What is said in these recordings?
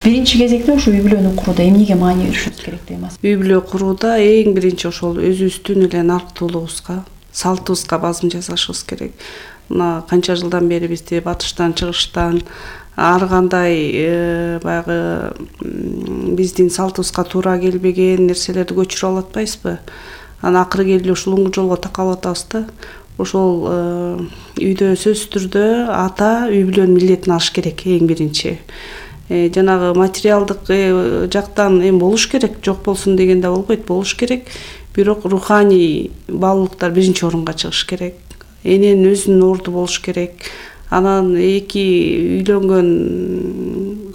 Биринчи кезекте ушу үй бүлөнү курууда эмнеге маани беришибиз керек деп атасыз? Үй бүлө курууда эң биринчи ошол өзүбүздүн эле нарктуулугубузга, салтыбызга базым жасашыбыз керек. Мына канча жылдан бери бизди батыштан, чыгыштан ар кандай баягы биздин салтыбызга туура келбеген нерселерди көчүрүп алып атпайбызбы? Анан акыры келип ушул жолго такалып атабыз да. Ошол үйдө сөзсүз түрдө ата үй бүлөнүн милдетин алыш керек эң биринчи. Жанагы материалдык жактан болуш керек, жок болсун деген да болбойт, болуш керек. Бирок руханий баалуулуктар биринчи орунга чыгыш керек. Эненин өзүнүн орду болуш керек. Анан эки үйлөнгөн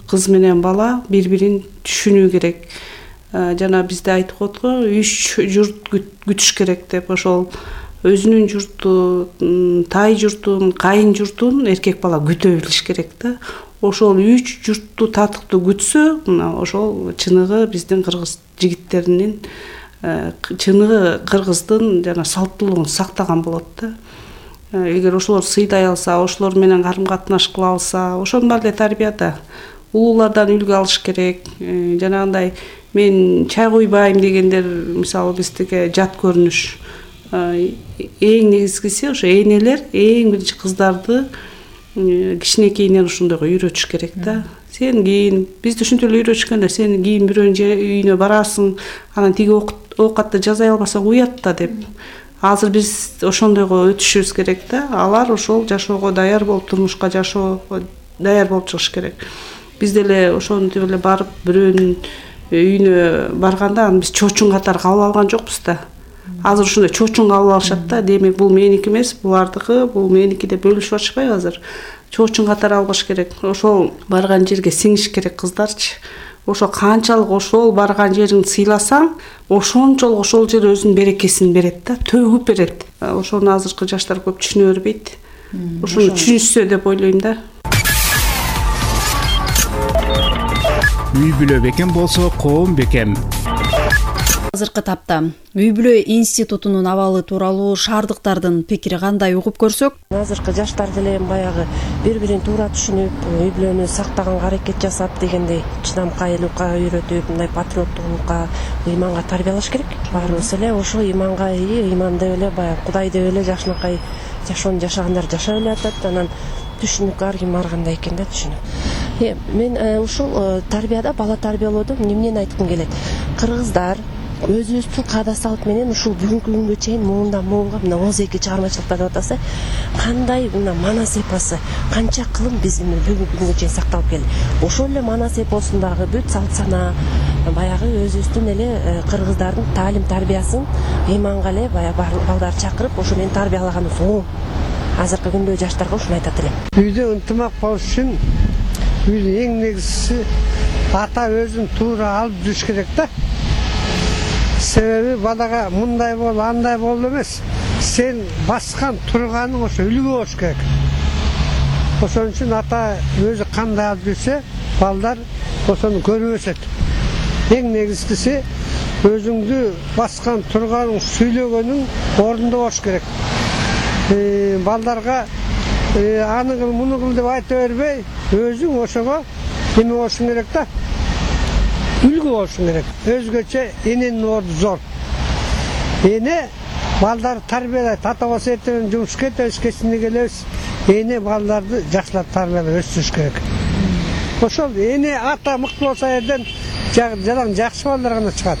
кыз менен бала бири-бирин түшүнүү керек. Жана бизде айтып коет го, 3 журт күтүш керек деп. Ошол өзүнүн журтун, тай журтун, кайын журтун эркек бала күтө билиш керек да. Ошол 3 журтту татыктуу күтсө, мына ошол чыныгы биздин кыргыз жигиттеринин, чыныгы кыргыздын жана салттуулугун сактаган болот да. Эгер ошолор сыйдай алса, ошолор менен карым-катнаш кыла алса, ошонун баары эле тарбияда. Улуулардан үлгү алыш керек. Жанагындай мен чай куйбайм дегендер, мисалы биздики жат көрүнүш. Эң негизгиси ошо энелер эң биринчи кыздарды кичинекейинен ушундойго үйрөтүш керек да. Сен кийин, бизди ушинтип эле үйрөтүшкөн да, сен кийин бирөөнүн үйүнө барасың, анан тиги оокатты жасай албасаң уят да деп. Азыр биз ошондойго өтүшүбүз керек да. Алар ошол жашоого даяр болуп, турмушка жашоого даяр болуп чыгыш керек. Биз деле ошентип эле барып бирөөнүн үйүнө барганда аны биз чоочун катары кабыл алган жокпуз да. Азыр ушундай чоочун кабыл алышат да. Демек бул меники эмес, булардыкы, бул меники деп бөлүшүп атышпайбы азыр? Чоочун катары албаш керек. Ошол барган жерге сиңиш керек кыздарчы. Ошо канчалык ошол барган жериңди сыйласаң, ошончолук ошол жер өзүнүн берекесин берет да, төгүп берет. Ошону азыркы жаштар көп түшүнө бербейт. Ошону түшүнүшсө деп ойлойм да. Үй бүлө бекем болсо, коом бекем. Азыркы тапта үй бүлө институтунун абалы тууралуу шаардыктардын пикири кандай угуп көрсөк, азыркы жаштар деле баягы бири-бирин туура түшүнүп, үй бүлөнү сактаганга аракет жасап дегендей чыдамкайлыкка үйрөтүп, мындай патриоттуулукка, ыйманга тарбиялаш керек. Баарыбыз эле ошо ыйманга ыйман деп эле баягы Кудай деп эле жакшынакай жашоону жашагандар жашап эле атат. Анан түшүнүк ар ким ар кандай экен да түшүнүк. Мен ушул тарбияда, бала тарбиялоодо эмнени айткым келет? Кыргыздар өзүбүздүн каада салт менен ушул бүгүнкү күнгө чейин муундан муунга мына 12 чыгармачылыкта деп атасы, кандай мына манас эпосы, канча кылым биздин бүгүнкү күнгө чейин сакталып келди. Ошол эле манас эпосундагы бүт салт сана, баягы өзүбүздүн эле кыргыздардын таалим тарбиясын ыйманга эле баягы балдарды чакырып, ошо менен тарбиялаганыбыз оң. Азыркы күндө жаштарга ушуну айтат элем. Үйдө ынтымак болуш үчүн үйдүн эң негизгиси ата өзүн туура алып жүрүш керек да. Себеби балага мындай бол, андай бол эмес. Сен баскан турганың ошо үлгү болуш керек. Ошон үчүн ата өзү кандай алып жүрсө, балдар ошону көрүп өсөт. Эң негизгиси өзүңдү баскан турганың, сүйлөгөнүң ордунда болуш керек. Балдарга аны кыл, муну кыл деп айта бербей, өзүң ошого эме болушуң керек да. Үлгү болушуң керек. Өзгөчө эненин орду зор. Эне балдарды тарбиялайт. Ата болсо эртең жумушка кетебиз, кечинде келебиз. Эне балдарды жакшылап тарбиялап өстүрүш керек. Ошол эне ата мыкты болсо жерден жаран жакшы балдар гана чыгат.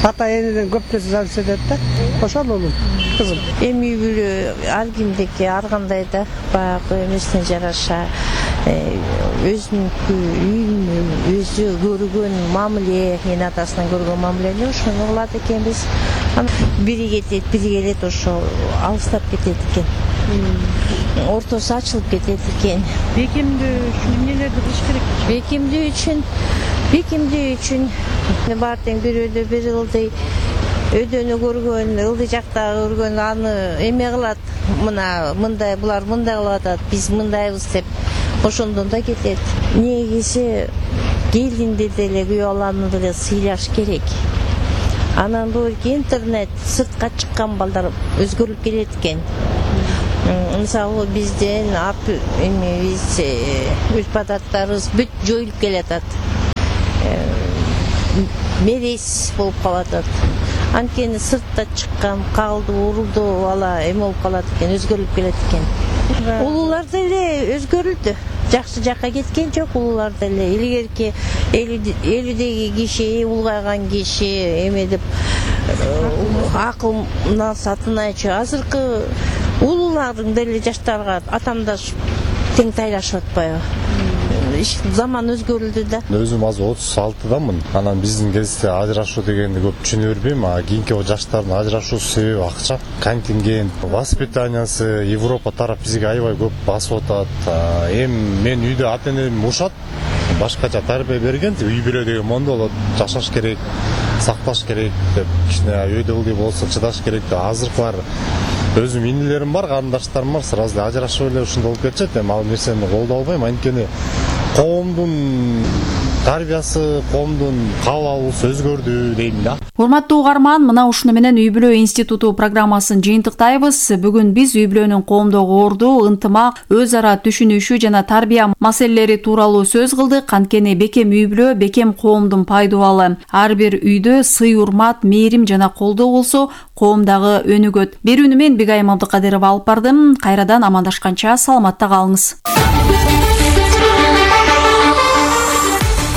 Ата энеден көп нерсе зависит этет да. Ошол улум, кызым. Эми үй бүлө ар кимдики ар кандай да баягы эмесине жараша өзүнүн үйүн өзү көргөн мамиле, эне атасынан көргөн мамилени ошону кылат экенбиз. Бири кетет, бири келет, ошо алыстап кетет экен. Ортосу ачылып кетет экен. Бекемдөө үчүн эмнелерди кылыш керек? Бекемдөө үчүн баары тең бир өйдө бир ылдый, өйдөнү көргөн, ылдый жакта көргөн аны эме кылат. Мына мындай, булар мындай кылып атат, биз мындайбыз деп ошондон да кетет. Негизи келинди деле, күйөө баланы деле сыйлаш керек. Анан бул интернет, сыртка чыккан балдар өзгөрүп келет экен. Мисалы бизден эми биз үч адаттарыбыз бүт жоюлуп келатат. мерез болуп калат. Анткени сыртта чыккан, калды, урулду бала эме болуп калат экен, өзгөрүлүп келет экен. Улуулар деле өзгөрүлдү. Жакшы жакка кеткен жок улуулар деле. Илгерки 50-деги киши, улгайган киши эме деп акылына сатынайчы. Азыркы улуулардын деле жаштарга атамдаш тең тайлашып атпайбы? Заман өзгөрүлдү да. Өзүм азыр 36-дамын. Анан биздин кезде ажырашуу дегенди көп түшүнө бербейм. Кийинки жаштардын ажырашуусу себеби акча, контингент, воспитаниясы, Европа тарап бизге аябай көп басып атат. Эми мен үйдө ата-энем ушат, башкача тарбия берген, үй бүлө деген мондо болот, жашаш керек, сакташ керек деп, кичине өйдө ылдый болсо чыдаш керек деп. Азыркылар өзүм инилерим бар, карындаштарым бар, сразу ажырашып эле ушундай болуп кетишет. Эми ал нерсени колдой албайм, анткени коомдун тарбиясы, коомдун кабыл алуусу өзгөрдү дейм да. Урматтуу угарман, мына ушуну менен Үй бүлө институту программасын жыйынтыктайбыз. Бүгүн биз үй бүлөнүн коомдогу орду, ынтымак, өз ара түшүнүшү жана тарбия маселелери тууралуу сөз кылдык. Анткени бекем үй бүлө, бекем коомдун пайдубалы. Ар бир үйдө сый, урмат, мээрим жана колдоо болсо, коомдагы өнүгөт. Берүүнү мен Бигайым Абдыкадырова алып бардым. Кайрадан амандашканча саламатта калыңыз.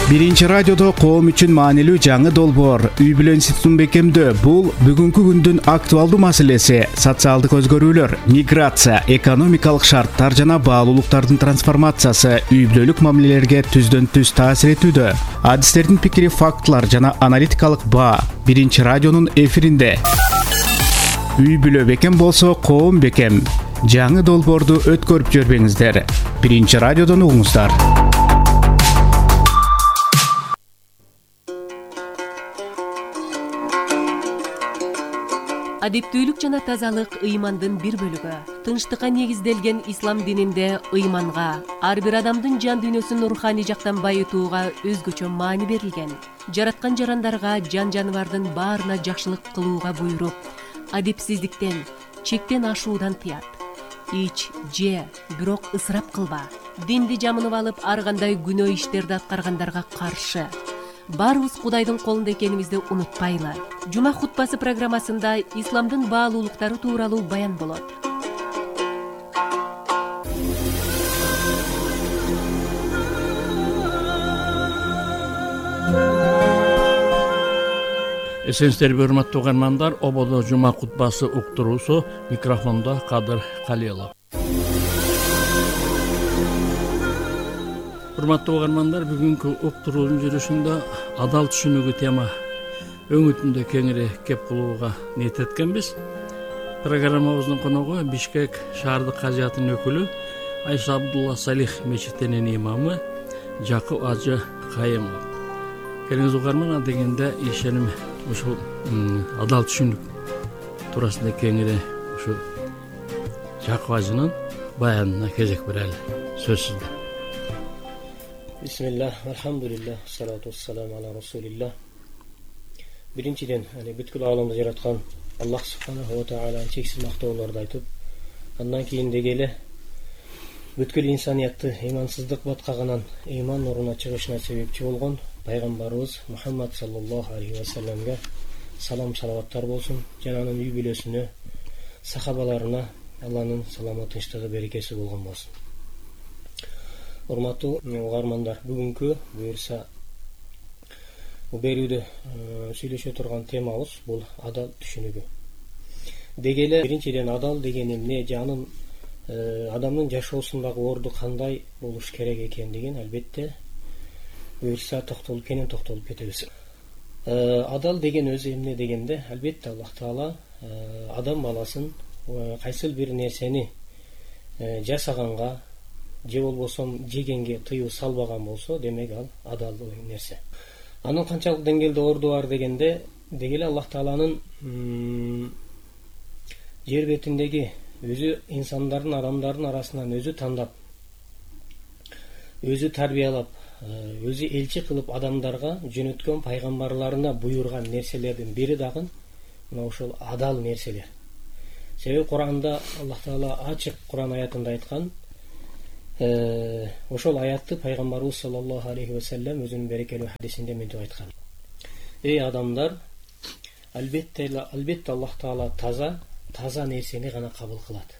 Биринчи радиодо коом үчүн маанилүү жаңы долбоор Үй бүлө институтун бекемдөө. Бул бүгүнкү күндүн актуалдуу маселеси. Социалдык өзгөрүүлөр, миграция, экономикалык шарттар жана баалуулуктардын трансформациясы үй бүлөлүк мамилелерге түздөн-түз таасир этүүдө. Адистердин пикири, фактылар жана аналитикалык баа биринчи радионун эфиринде. Үй бүлө бекем болсо, коом бекем. Жаңы долбоорду өткөрүп жибербеңиздер. Биринчи радиодон угуңуздар. Адептүүлүк жана тазалык ыймандын бир бөлүгү. Тынчтыкка негизделген ислам дининде ыйманга, ар бир адамдын жан дүйнөсүн руханий жактан байытууга өзгөчө маани берилген. Жараткан жарандарга, жан-жаныбардын баарына жакшылык кылууга буйруп, адепсиздиктен, чектен ашуудан тыят. Ич, же, бирок ысырап кылба. Динди жамынып алып, ар кандай күнөө иштерди аткаргандарга каршы. Баарыбыз Кудайдын колунда экенибизди унутпайлы. Жума хутбасы программасында исламдын баалуулуктары тууралуу баян болот. Эсенсиздерби, урматтуу угармандар, ободо жума хутбасы уктуруусу, микрофондо Кадыр Калилов. Урматтуу угармандар, бүгүнкү уктуруунун жүрүшүндө адал түшүнүүгү тема өңүтүндө кеңири кеп кылууга ниет эткенбиз. Программабыздын коногу Бишкек шаардык кажыятынын өкүлү Айша Абдулла Салих мечитинин имамы Жакып Ажы Кайымов. Келиңиз угарман, дегенде ишеним ушул адал түшүнүк туурасында кеңири ушу Жакып Ажынын баянына кезек берели. Сөз сизде. Бисмиллах, алхамдулиллах, салату вассаламу ала расулиллах. Биринчиден, бүткүл ааламды жараткан Аллах субханаху ва таааланы чексиз мактоолорду айтып, андан кийин деги эле бүткүл инсаниятты ыймансыздык баткагынан ыйман нуруна чыгышына себепчи болгон пайгамбарыбыз Мухаммад саллаллаху алейхи ва салламга салам салаваттар болсун, жана анын үй бүлөсүнө, сахабаларына Алланын саламы, тынчтыгы, берекеси болгон болсун. Урматтуу угармандар, бүгүнкү буюрса берүүдө сүйлөшө турган темабыз бул адал түшүнүгү. Деги эле биринчиден адал деген эмне, же анын адамдын жашоосундагы орду кандай болуш керек экендигин албетте буюрса кенен токтолуп кетебиз. Адал деген өзү эмне дегенде, албетте Аллах Таала адам баласын кайсыл бир нерсени жасаганга же болбосо жегенге тыюу салбаган болсо, демек ал адалдуу нерсе. Анын канчалык деңгээлде орду бар дегенде, деги эле Аллах Тааланын жер бетиндеги өзү инсандардын, адамдардын арасынан өзү тандап, өзү тарбиялап, өзү элчи кылып адамдарга жөнөткөн пайгамбарларына буйрган нерселердин бири дагы мына ошол адал нерселер. Себеби Куранда Аллах Таала ачык Куран аятында айткан: ошол аятты пайгамбарыбыз саллаллаху алейхи вассалам өзүнүн берекелүү хадисинде мынтип айткан: эй адамдар, албетте Аллах Таала таза нерсени гана кабыл кылат.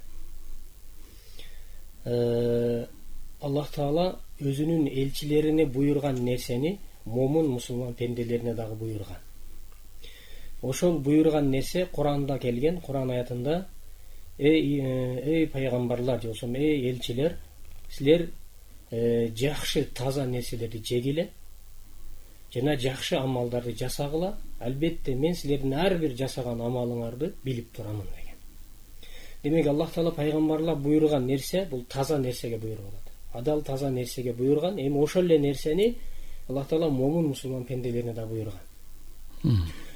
Аллах Таала өзүнүн элчилерине буйрган нерсени момун мусулман пенделерине дагы буйрган. Ошол буйрган нерсе Куранда келген. Куран аятында: эй пайгамбарлар же болбосо эй элчилер, силер жакшы таза нерселерди жегиле жана жакшы амалдарды жасагыла. Албетте мен силердин ар бир жасаган амалыңарды билип турамын деген. Демек Аллах Таала пайгамбарлар буйрган нерсе бул таза нерсеге буйругат. Адал таза нерсеге буйрган. Эми ошол эле нерсени Аллах Таала момун мусулман пенделерине да буйрган.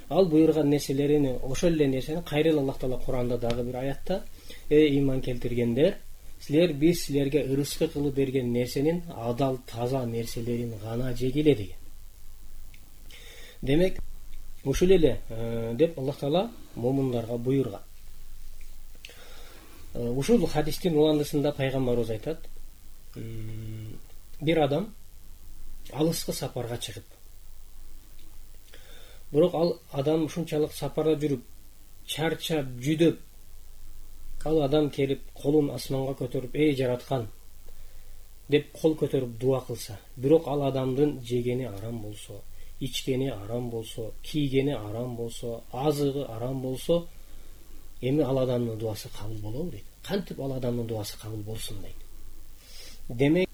Ал буйрган нерселерини, ошол эле нерсени кайрылы Аллах Таала Куранда дагы бир аятта: эй иман келтиргендер, биз силерге ырыскы кылып берген нерсенин адал таза нерселерин гана жегиле деген. Демек ушул эле деп Аллах Таала момундарга буйрган. Ушул хадистин уландысында пайгамбарыбыз айтат: бир адам алыскы сапарга чыгып, бирок ал адам ушунчалык сапарда жүрүп чарчап, жүдөп, ал адам келип колун асманга көтөрүп: эй жараткан деп кол көтөрүп дуа кылса, бирок ал адамдын жегени арам болсо, ичкени арам болсо, кийгени арам болсо, азыгы арам болсо, эми ал адамдын дуасы кабыл болобу дейт. Кантип ал адамдын дуасы кабыл болсун дейт. Демек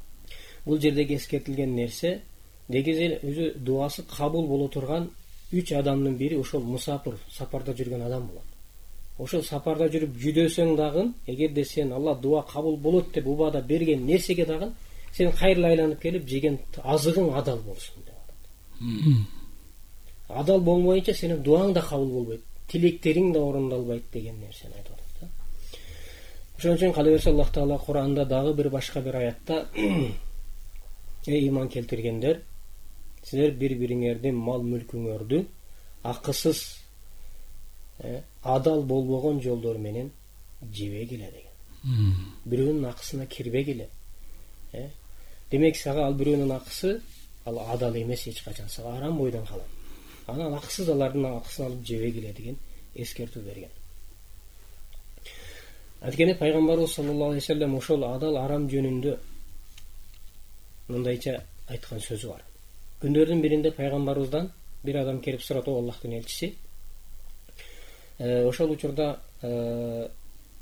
бул жердеги эскертилген нерсе, негизи өзү дуасы кабыл боло турган 3 адамдын бири ошол мусапыр, сапарда жүргөн адам болот. Ошол сапарда жүрүп жүдөсөң дагы, эгерде сен Алла дуа кабыл болот деп убада берген нерсеге дагы сен кайрылы айланып келип жеген азыгың адал болсун деп атат. Адал болмойнча сенин дуаң да кабыл болбойт, тилектериң да орундалбайт деген нерсени айтып атат. Ошон үчүн кала берсе Аллах Таала Куранда дагы бир башка бир аятта: эй иман келтиргендер, силер бири-бириңердин мал мүлкүңөрдү акысыз, адал болбогон жолдор менен жебегиле деген. Бирөөнүн акысына кирбегиле. Демек сага ал бирөөнүн акысы ал адал эмес, эч качан сага арам бойдон калат. Анан акысыз алардын акысын алып жебегиле деген эскертүү берген. Анткени пайгамбарыбыз саллаллаху алейхи ва саллям ошол адал арам жөнүндө мындайча айткан сөзү бар. Күндөрдүн биринде пайгамбарыбыздан бир адам келип сурат: о Аллахтын элчиси, ошол учурда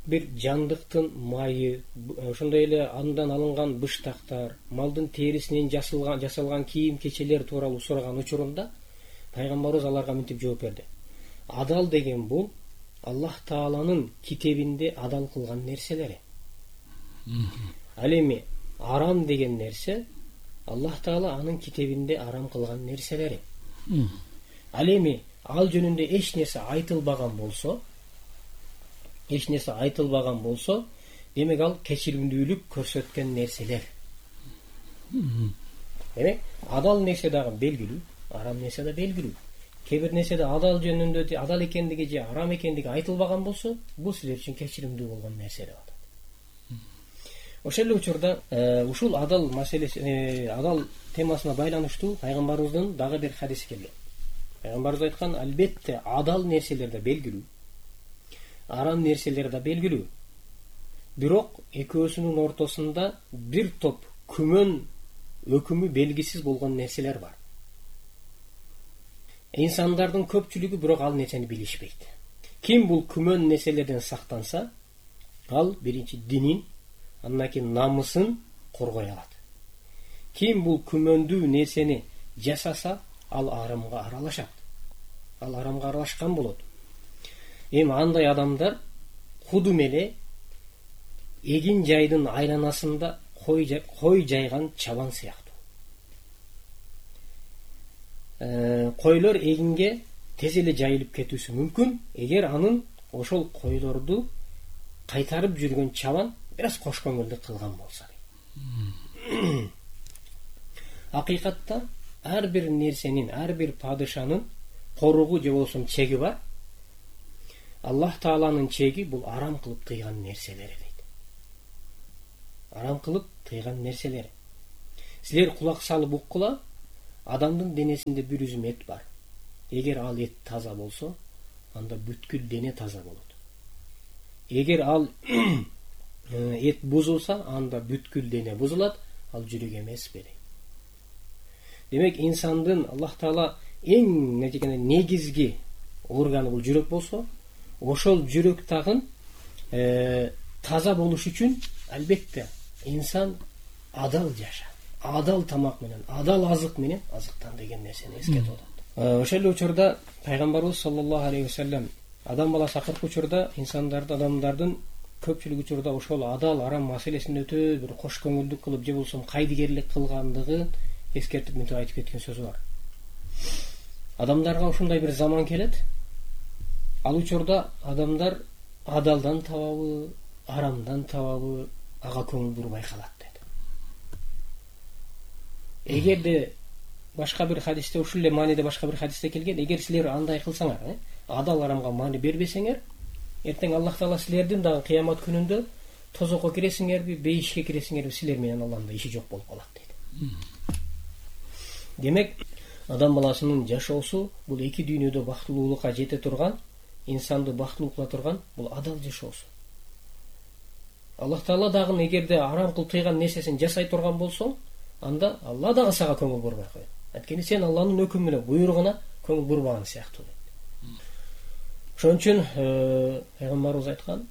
бир жандыктын майы, ошондой эле андан алынган быштактар, малдын терисинен жасалган кийим-кечелер тууралуу сураган учурунда пайгамбарыбыз аларга мынтип жооп берди: адал деген бул Аллах Тааланын китебинде адал кылган нерселери. Ал эми арам деген нерсе Аллах Таала анын китебинде арам кылган нерселери. Ал эми ал жөнүндө эч нерсе айтылбаган болсо, демек ал кечиримдүүлүк көрсөткөн нерселер. Демек адал нерсе дагы белгилүү, арам нерсе да белгилүү. Кээ бир нерседе адал жөнүндө адал экендиги же арам экендиги айтылбаган болсо, бул силер үчүн кечиримдүү болгон нерсе деп атат. Ошол эле учурда ушул адал маселеси, адал темасына байланыштуу пайгамбарыбыздын дагы бир хадиси келген. Пайгамбарыбыз айткан: албетте адал нерселер да белгилүү, арам нерселер да белгилүү. Бирок экөөсүнүн ортосунда бир топ күмөн өкүмү белгисиз болгон нерселер бар. Инсандардын көпчүлүгү бирок ал нерсени билишпейт. Ким бул күмөн нерселерден сактанса, ал биринчи динин, андан кийин намысын коргой алат. Ким бул күмөндүү нерсени жасаса, ал арамга аралашат. Ал арамга аралашкан болот. Эми андай адамдар кудум эле эгин жайдын айланасында кой жайган чабан сыяктуу. Койлор эгинге тез эле жайылып кетүүсү мүмкүн, эгер анын ошол койлорду кайтарып жүргөн чабан бир аз кош көңүлдүк кылган болсо. Акыйкатта ар бир нерсенин, ар бир падышанын коругу же болбосо чеги бар. Аллах Тааланын чеги бул арам кылып тыйган нерселери дейт. арам кылып тыйган нерселери. Силер кулак салып уккула, адамдын денесинде бир үзүм эт бар. Эгер ал эт таза болсо, анда бүткүл дене таза болот. Эгер ал эт бузулса, анда бүткүл дене бузулат, ал жүрөк эмес беле. Демек инсандын Аллах Таала эң негизги органы бул жүрөк болсо, ошол жүрөк тагын таза болуш үчүн албетте инсан адал жаша, адал тамак менен, адал азык менен азыктан деген нерсени эскертип атат. Ошол эле учурда пайгамбарыбыз саллаллаху алейхи вассалам адам баласы акыркы учурда инсандарды, адамдардын көпчүлүк учурда ошол адал арам маселесин өтө бир кош көңүлдүк кылып же болбосо кайдыгерлик кылгандыгын эскертип мынтип айтып кеткен сөзү бар. Адамдарга ушундай бир заман келет. Ал учурда адамдар адалдан табабы, арамдан табабы, ага көңүл бурбай калат деди. Эгерде башка бир хадисте, ушул эле мааниде башка бир хадисте келген, эгер силер андай кылсаңар, адал арамга маани бербесеңер, эртең Аллах Таала силердин дагы кыямат күнүндө тозокко киресиңерби, бейишке киресиңерби, силер менен Аллахтын иши жок болуп калат дейт. Демек, адам баласынын жашоосу бул эки дүйнөдө бактылуулукка жете турган, инсанды бактылуу кыла турган бул адал жашоосу. Аллах Таала дагы эгерде арам кылып тыйган нерсесин жасай турган болсоң, анда Алла дагы сага көңүл бурбай коет. Анткени сен Алланын өкүмүнө, буйругуна көңүл бурбаган сыяктуу. Ошон үчүн пайгамбарыбыз айткан,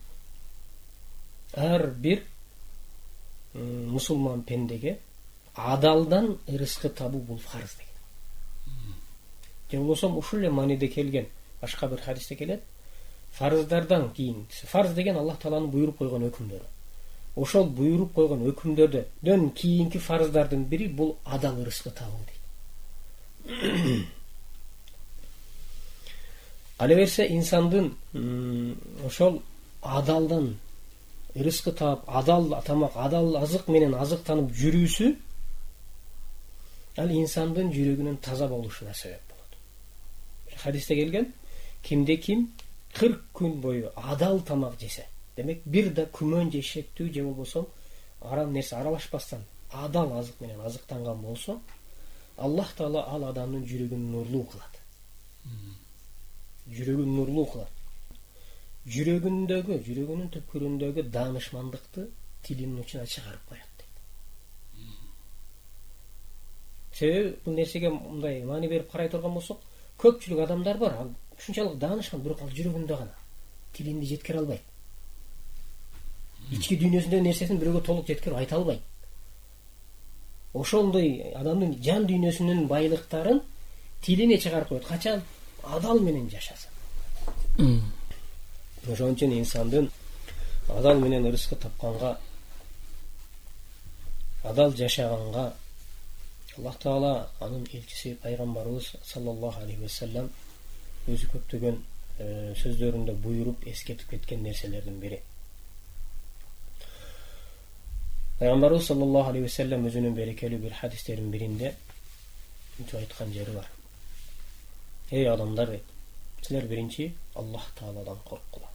ар бир мусулман пендеге адалдан ырыскы табуу бул фарз деген. Же болбосо ушул эле мааниде келген башка бир хадисте келет. Фарыздардан кийин, фарз деген Аллах Тааланын буйруп койгон өкүмдөрү. Ошол буйруп койгон өкүмдөрдөн кийинки фарыздардын бири бул адал ырыскы табуу дейт. Ала берсе инсандын ошол адалдан ырыскы таап, адал тамак, адал азык менен азыктанып жүрүүсү ал инсандын жүрөгүнүн таза болушуна себеп болот. Хадисте келген, кимде ким 40 күн бою адал тамак жесе, демек бир да күмөн же шектүү же болбосо арам нерсе аралашпастан адал азык менен азыктанган болсо, Аллах Таала ал адамдын жүрөгүн нурлуу кылат. Жүрөгүн нурлуу кылат. Жүрөгүнүн түпкүрүндөгү даанышмандыкты тилинин учуна чыгарып коет дейт. Себеби бул нерсеге мындай маани берип карай турган болсок, көпчүлүк адамдар бар, ал ушунчалык даанышкан, бирок ал жүрөгүндө гана, тилинде жеткире албайт. Ички дүйнөсүндөгү нерсесин бирөөгө толук жеткирип айта албайт. Ошондой адамдын жан дүйнөсүнүн байлыктарын тилине чыгарып коет. Качан? Адал менен жашаса. Ошон үчүн инсандын адал менен ырыскы тапканга, адал жашаганга Аллах Таала анын элчиси пайгамбарыбыз саллаллаху алейхи вассалам өзү көптөгөн сөздөрүндө буйруп эскертип кеткен нерселердин бири. Пайгамбарыбыз саллаллаху алейхи вассалам өзүнүн берекелүү бир хадистеринин биринде мынтип айткан жери бар. Эй адамдар, силер биринчи Аллах Тааладан корккула.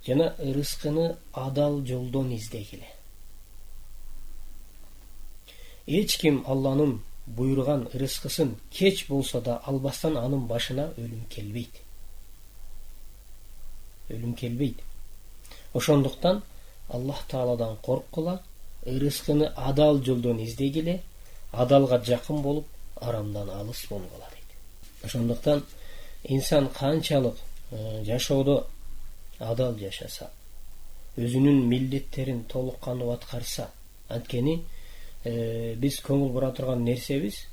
Жана ырыскыны адал жолдон издегиле. Эч ким Алланын буйруган ырыскысын кеч болсо да албастан анын башына өлүм келбейт. Өлүм келбейт. Ошондуктан Аллах Тааладан корккула, ырыскыны адал жолдон издегиле, адалга жакын болуп, арамдан алыс болгула дейт. Ошондуктан инсан канчалык жашоодо адал жашаса, өзүнүн милдеттерин толук кандуу аткарса, анткени биз көңүл бура турган нерсебиз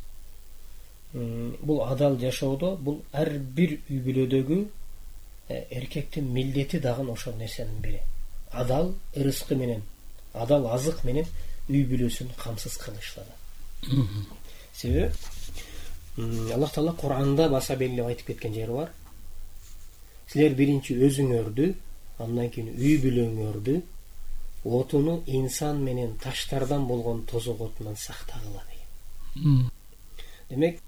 бул адал жашоодо, бул ар бир үй бүлөдөгү эркектин милдети дагы ошол нерсенин бири. Адал ырыскы менен, адал азык менен үй бүлөсүн камсыз кылышлады. Себеби Аллах Таала Кур'анда баса белгилеп айтып кеткен жери бар. Силер биринчи өзүңөрдү, андан кийин үй бүлөңөрдү отуну инсан менен таштардан болгон тозок отунан сактагыла деген. Демек,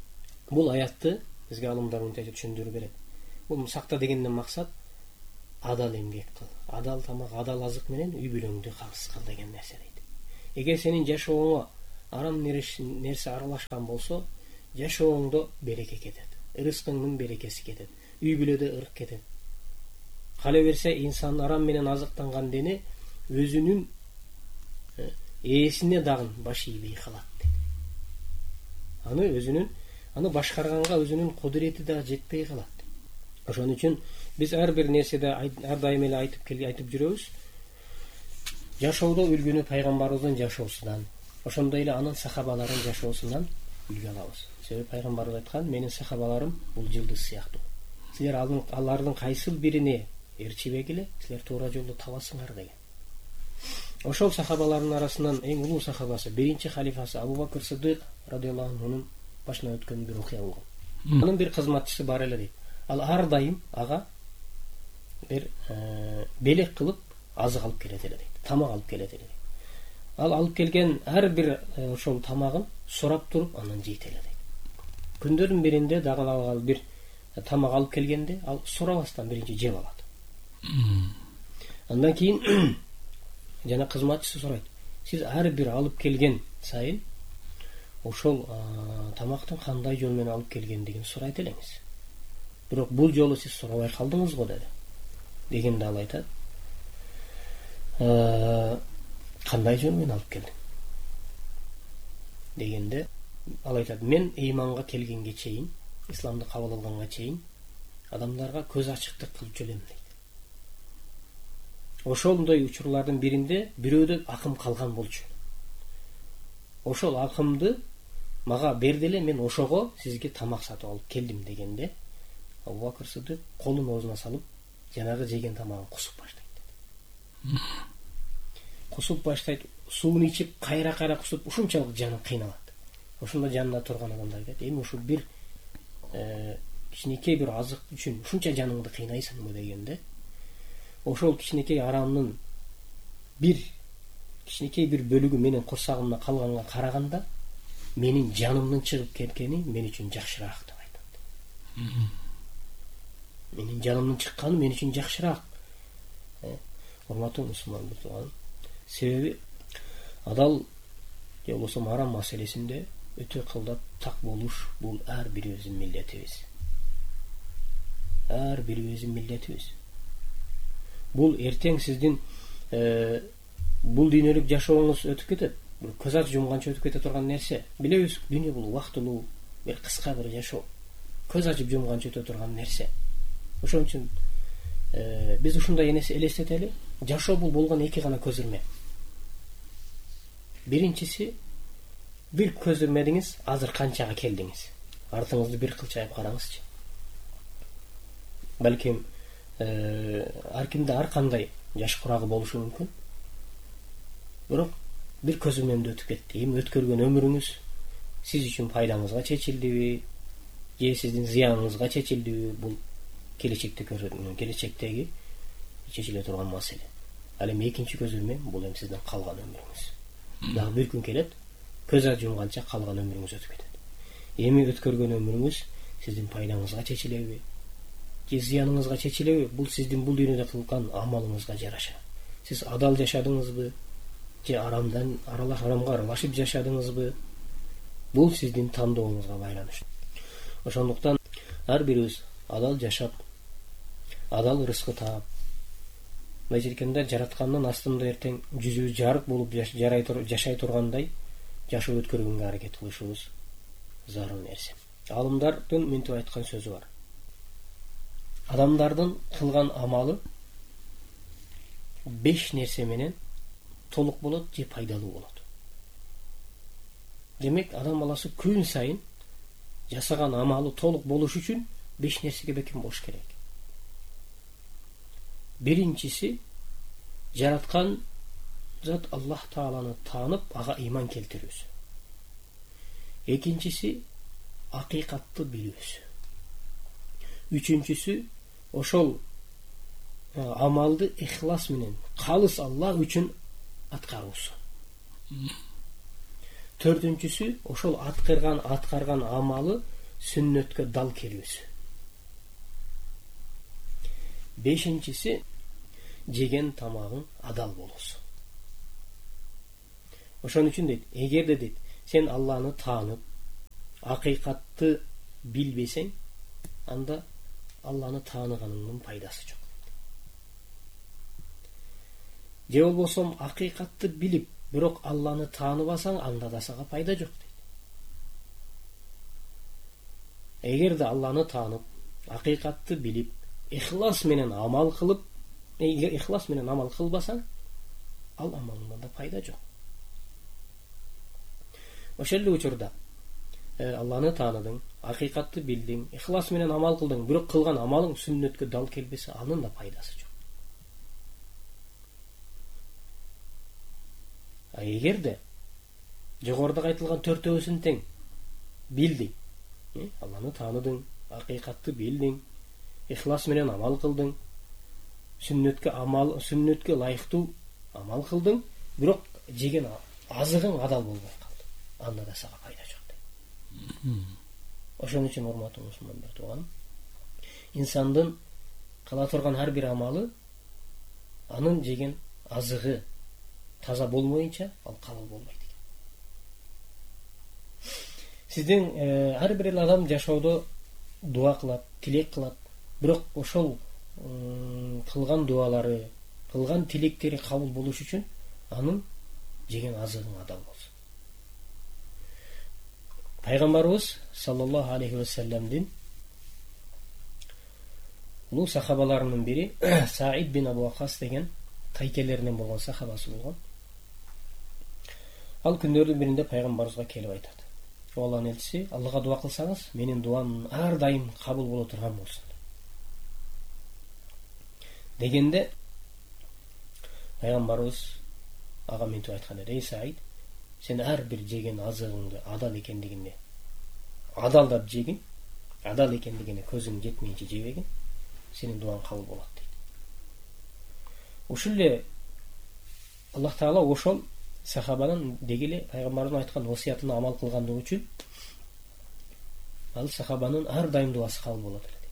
бул аятты бизге алымдар мынтип түшүндүрүп берет. Бул сакта дегенден максат адал эмгек кыл, адал тамак, адал азык менен үй бүлөңдү калыс кыл деген нерсе дейт. Эгер сенин жашооңо арам нерсе аралашкан болсо, жашооңдо береке кетет, ырыскыңдын берекеси кетет, үй бүлөдө ырк кетет. Кала берсе инсан арам менен азыктанган дене өзүнүн ээсине дагы баш ийбей калат дейт. Аны башкарганга өзүнүн кудурети да жетпей калат. Ошон үчүн биз ар бир нерседе ар дайым эле айтып жүрөбүз. Жашоодо үлгүнү пайгамбарыбыздын жашоосунан, ошондой эле анын сахабаларынын жашоосунан үлгү алабыз. Себеби пайгамбарыбыз айткан: менин сахабаларым бул жылдыз сыяктуу. Силер алардын кайсыл бирине ээрчибегиле, силер туура жолду табасыңар деген. Ошол сахабалардын арасынан эң улуу сахабасы, биринчи халифасы Абу Бакыр Сыдык радыйаллаху анхунун башына өткөн бир окуя болгон. Анын бир кызматчысы бар эле дейт. Ал ар дайым ага бир белек кылып азык алып келет эле дейт, тамак алып келет эле дейт. Ал алып келген ар бир ошол тамагын сурап туруп анан жейт эле дейт. Күндөрдүн биринде дагы ал бир тамак алып келгенде ал сурабастан биринчи жеп алат. Андан кийин жана кызматчысы сурайт: сиз ар бир алып келген сайын ошол тамактын кандай жол менен алып келгендигин сурайт элеңиз. Бирок бул жолу сиз сурабай калдыңыз го деди. Дегенде ал айтат: кандай жол менен алып келдиң? Дегенде ал айтат: мен ыйманга келгенге чейин, исламды кабыл алганга чейин адамдарга көз ачыктык кылып жүрөм дейт. Ошондой учурлардын биринде бирөөдө акым калган болчу. Ошол акымды мага берди эле, мен ошого сизге тамак сатып алып келдим дегенде Абу Бакыр Сыдык колун оозуна салып, жанагы жеген тамагын кусуп баштайт. Кусуп баштайт, суун ичип, кайра кусуп, ушунчалык жаны кыйналат. Ошондо жанында турган адамдар айтат: эми ушу бир кичинекей бир азык үчүн ушунча жаныңды кыйнайсыңбы дегенде, ошол кичинекей арамдын кичинекей бир бөлүгү менин курсагымда калганга караганда менин жанымдын чыгып кеткени мен үчүн жакшыраак деп айтат. Менин жанымдын чыкканы мен үчүн жакшыраак. Урматтуу мусулман, себеби адал же болбосо арам маселесинде өтө кылдап так болуш бул ар бирибиздин милдетибиз. Ар бирибиздин милдетибиз. Бул эртең сиздин бул дүйнөлүк жашооңуз өтүп кетет. Бир көз ачып жумганча өтүп кете турган нерсе. Билебиз, дүйнө бул убактылуу, бир кыска бир жашоо. Көз ачып жумганча өтө турган нерсе. Ошон үчүн биз ушундай элестетели, жашоо бул болгон эки гана көзүрмө. Биринчиси, бир көзүрмедиңиз, азыр канчага келдиңиз. Артыңызды бир кылчайып караңызчы. Балким ар кимде ар кандай жаш курагы болушу мүмкүн. Бирок бир көзүрмөмдө өтүп кетти. Эми өткөргөн өмүрүңүз сиз үчүн пайдаңызга чечилдиби, же сиздин зыяныңызга чечилдиби, бул келечектеги чечиле турган маселе. Ал эми экинчи көзүрмө бул эми сиздин калган өмүрүңүз. Дагы бир күн келет, көз ачып жумганча калган өмүрүңүз өтүп кетет. Эми өткөргөн өмүрүңүз сиздин пайдаңызга чечилеби, же зыяныңызга чечилеби, бул сиздин бул дүйнөдө кылган амалыңызга жараша. Сиз адал жашадыңызбы, же арамга аралашып жашадыңызбы, бул сиздин тандооңузга байланыштуу. Ошондуктан ар бирибиз адал жашап, адал рызкы таап, мындай жеркенде жараткандын астында эртең жүзүбүз жарык болуп жашай тургандай жашоо өткөргөнгө аракет кылышыбыз зарыл нерсе. Алымдардын мынтип айткан сөзү бар: адамдардын кылган амалы 5 нерсе менен толук болот же пайдалуу болот. Демек, адам баласы күн сайын жасаган амалы толук болуш үчүн 5 нерсеге бекем болуш керек. Биринчиси, жараткан зат Аллах Тааланы таанып, ага ыйман келтирүүсү. Экинчиси, акыйкатты билүүсү. Үчүнчүсү, ошол амалды ихлас менен калыс Аллах үчүн аткаруусу. Төртүнчүсү, ошол аткарган амалы сүннөткө дал келүүсү. Бешинчиси, жеген тамагың адал болосу. Ошон үчүн дейт, эгерде дейт сен Алланы таанып, акыйкатты билбесең, анда Алланы тааныганыңдын пайдасы жок. Же болбосо акыйкатты билип, бирок Алланы тааныбасаң, анда да сага пайда жок дейт. Эгерде Алланы таанып, акыйкатты билип, ихлас менен амал кылып, ихлас менен амал кылбасаң, ал амалыңдан да пайда жок. Ошол эле учурда Алланы тааныдың, акыйкатты билдиң, ихлас менен амал кылдың, бирок кылган амалың сүннөткө дал келбесе, анын да пайдасы жок. А эгерде жогоруда айтылган төртөөсүн тең билдиң, Алланы тааныдың, акыйкатты билдиң, ихлас менен амал кылдың, сүннөткө ылайыктуу амал кылдың, бирок жеген азыгың адал болбой калды, анда да сага пайда жок дейт. Ошон үчүн урматтуу мусулмандар, тууганым, инсандын кыла турган ар бир амалы анын жеген азыгы таза болмоюнча ал кабыл болбойт экен. Сиздин ар бир адам жашоодо дуа кылат, тилек кылат, бирок ошол кылган дуалары, кылган тилектери кабыл болуш үчүн анын жеген азыгын адал болсун. Пайгамбарыбыз саллаллаху алейхи ва салламдин улуу сахабаларынын бири Саид бин Абу Вакас деген тайкелеринен болгон сахабасы болгон. Ал күндөрдүн биринде пайгамбарыбызга келип айтат: Алланын элчиси, Аллага дуа кылсаңыз, менин дуам ар дайым кабыл боло турган болсун. Дегенде пайгамбарыбыз ага мынтип айткан эди: Эй Саид, сен ар бир жеген азыгыңды адал экендигине адалдап жегин, адал экендигине көзүң жетмейинче жебегин, сенин дуаң кабыл болот дейт. Ушул эле Аллах Таала ошол сахабанын деги эле пайгамбарыбыздын айткан осуятына амал кылгандыгы үчүн ал сахабанын ар дайым дуасы кабыл болот эле.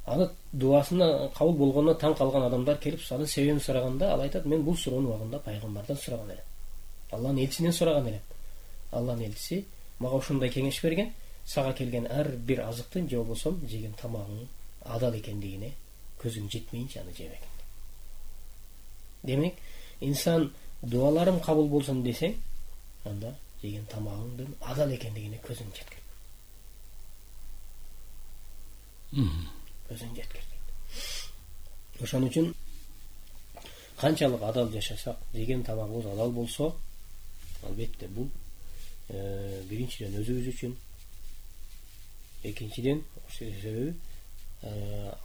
Аны дуасына кабыл болгонуна таң калган адамдар келип анын себебин сураганда, ал айтат: мен бул суроону убагында пайгамбардан сураган элем, Алланын элчисинен сураган элем. Алланын элчиси мага ушундай кеңеш берген: сага келген ар бир азыктын же болбосо жеген тамагың адал экендигине көзүң жетмейинче аны жебегин. Демек, инсан дуаларым кабыл болсун десең, анда жеген тамагыңдын адал экендигине көзүң жеткир. Көзүң жеткир. Ошон үчүн канчалык адал жашасак, жеген тамагыбыз адал болсо, албетте бул биринчиден өзүбүз үчүн, экинчиден себеби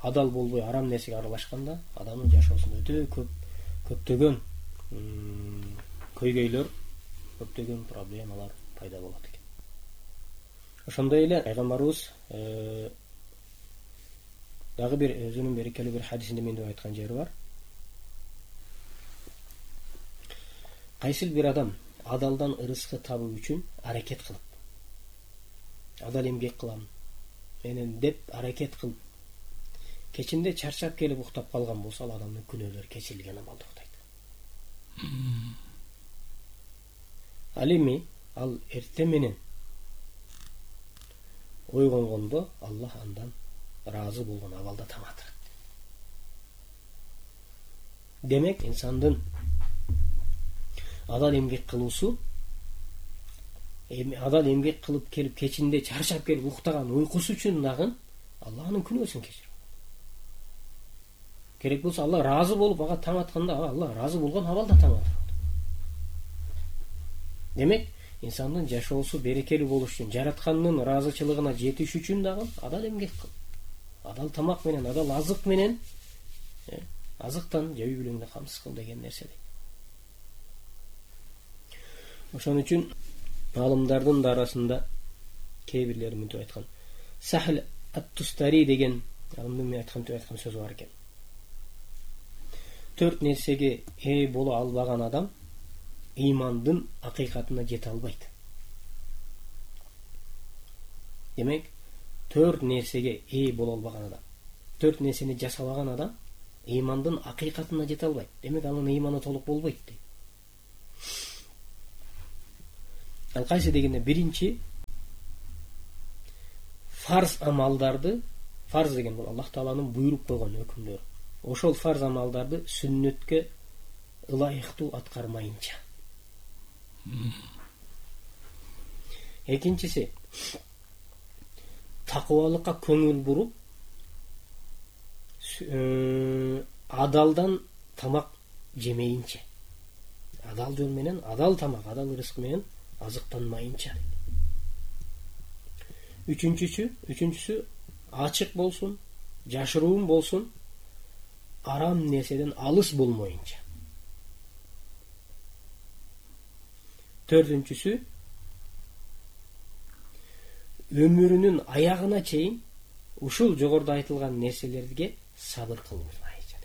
адал болбой арам нерсеге аралашканда адамдын жашоосунда өтө көптөгөн көйгөйлөр, көптөгөн проблемалар пайда болот экен. Ошондой эле пайгамбарыбыз дагы бир өзүнүн берекелүү бир хадисинде мынтип айткан жери бар: кайсыл бир адам адалдан ырыскы табуу үчүн аракет кылып, адал эмгек кылам менен деп аракет кылып, кечинде чарчап келип уктап калган болсо, ал адамдын күнөөлөрү кечирилген абалда уктайт. Ал эми ал эртең менен ойгонгондо Аллах андан ыраазы болгон абалда таң атырат. Демек, инсандын адал эмгек кылуусу, адал эмгек кылып келип кечинде чарчап келип уктаган уйкусу үчүн дагы Аллах анын күнөөсүн кечирет. Керек болсо Аллах ыраазы болуп ага таң атканда, Аллах ыраазы болгон абалда таң атат. Демек, инсандын жашоосу берекелүү болуш үчүн, жараткандын ыраазычылыгына жетиш үчүн дагы адал эмгек кыл. Адал тамак менен, адал азык менен, азыктан жей билеңде камсыз кыл деген нерсе дейт. Ошон үчүн алымдардын да арасында кээ бирлери мынтип айткан: Сахл ат-Тустари деген алымдын айткан сөзү бар экен: 4 нерсеге ээ боло албаган адам ыймандын акыйкатына жете албайт. Демек, 4 нерсеге ээ боло албаган адам, 4 нерсени жасабаган адам ыймандын акыйкатына жете албайт. Демек анын ыйманы толук болбойт дейт. Ал кайсы дегенде биринчи фарз амалдарды, фарз деген бул Аллах Тааланын буйруп койгон өкүмдөрү. Ошол фарз амалдарды сүннөткө ылайыктуу аткармайынча. Экинчиси такыбалыкка көңүл буруп, адалдан тамак жемейинче. Адал жол менен, адал тамак, адал рызык менен азыктанмайынча. Үчүнчүсү ачык болсун, жашыруун болсун, арам нерседен алыс болмоюнча. Төртүнчүсү өмүрүнүн аягына чейин ушул жогоруда айтылган нерселерге сабыр кылмайынча.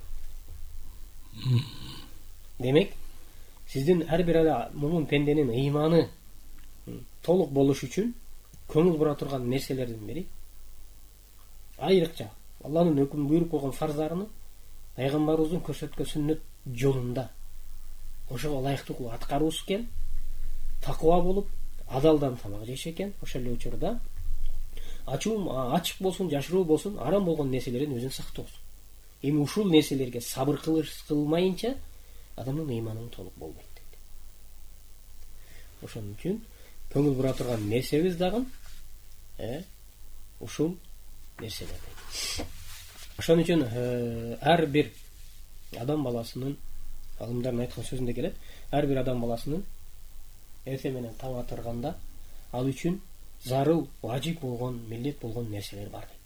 Демек, сиздин ар бир мумун пенденин ыйманы толук болуш үчүн көңүл бура турган нерселердин бири айрыкча Алланын өкүм буйруп койгон фарздарыны пайгамбарыбыздын көрсөткөн сүннөт жолунда ошого ылайыктуу кылып аткаруусу экен, такыба болуп, адалдан тамак жеш экен. Ошол эле учурда ачык болсун, жашыруу болсун, арам болгон нерселерден өзүн сактоосун. Эми ушул нерселерге сабыр кылмайынча адамдын ыйманы толук болбойт дейт. Ошон үчүн көңүл бура турган нерсебиз дагы ушул нерселер дейт. Ошон үчүн ар бир адам баласынын, алымдардын айткан сөзүндө келет, ар бир адам баласынын эртең менен таң атырганда ал үчүн зарыл, важип болгон, милдет болгон нерселер бар дейт.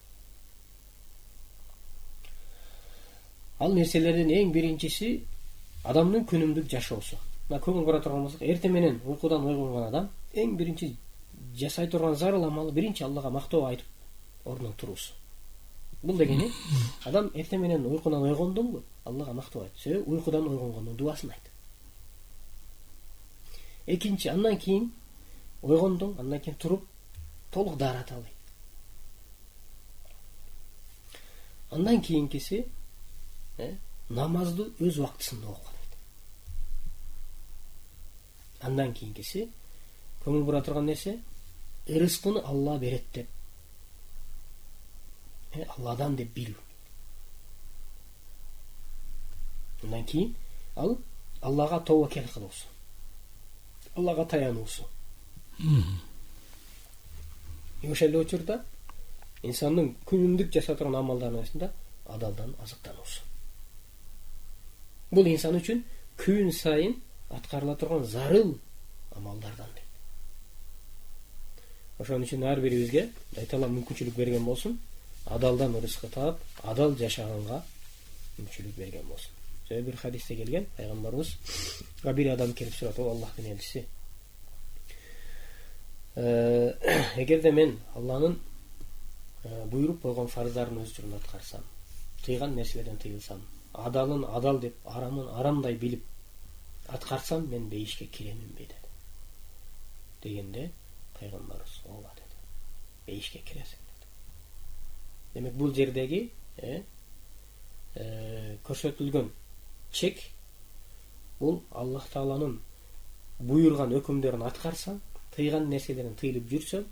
Ал нерселердин эң биринчиси адамдын күнүмдүк жашоосу. Көңүл бура турган болсок, эртең менен уйкудан ойгонгон адам эң биринчи жасай турган зарыл амалы биринчи Аллага мактоо айтып ордунан туруусу. Бул дегени адам эртең менен уйкудан ойгондонбу Аллага мактоо айт. Себеби уйкудан ойгонгондун дубасын айт. Экинчи, андан кийин ойгондон, андан кийин туруп толук даарата албайт. Андан кийинкиси намазды өз убактысында окуп алат. Андан кийинкиси көңүл бура турган нерсе рызкыны Алла берет деп, Алладан деп билүү. Андан кийин ал Аллага тобокел кылуусу, Аллага таянуусу. Ошол эле учурда инсандын күнүмдүк жаса турган амалдарынын арасында адалдан азыктануусу. Бул инсан үчүн күн сайын аткарыла турган зарыл амалдардан дейт. Ошон үчүн ар бирибизге Айтала мүмкүнчүлүк берген болсун, адалдан рызкы таап, адал жашаганга мүмкүнчүлүк берген болсун. Себеби бир хадисте келген, пайгамбарыбыз бир адам келип сурат: "О Аллахтын элчиси, эгерде мен Алланын буйруп койгон фарздарын өз жолунда аткарсам, тыйган нерселерден тыйылсам, адалын адал деп, арамын арамдай билип аткарсам, мен бейишке киреминби?" деди. Дегенде пайгамбарыбыз: "Ооба" деди. "Бейишке киресиң" деди. Демек бул жердеги көрсөтүлгөн чек бул Аллах Тааланын буйрган өкүмдөрүн аткарсаң, тыйган нерселерден тыйылып жүрсөң,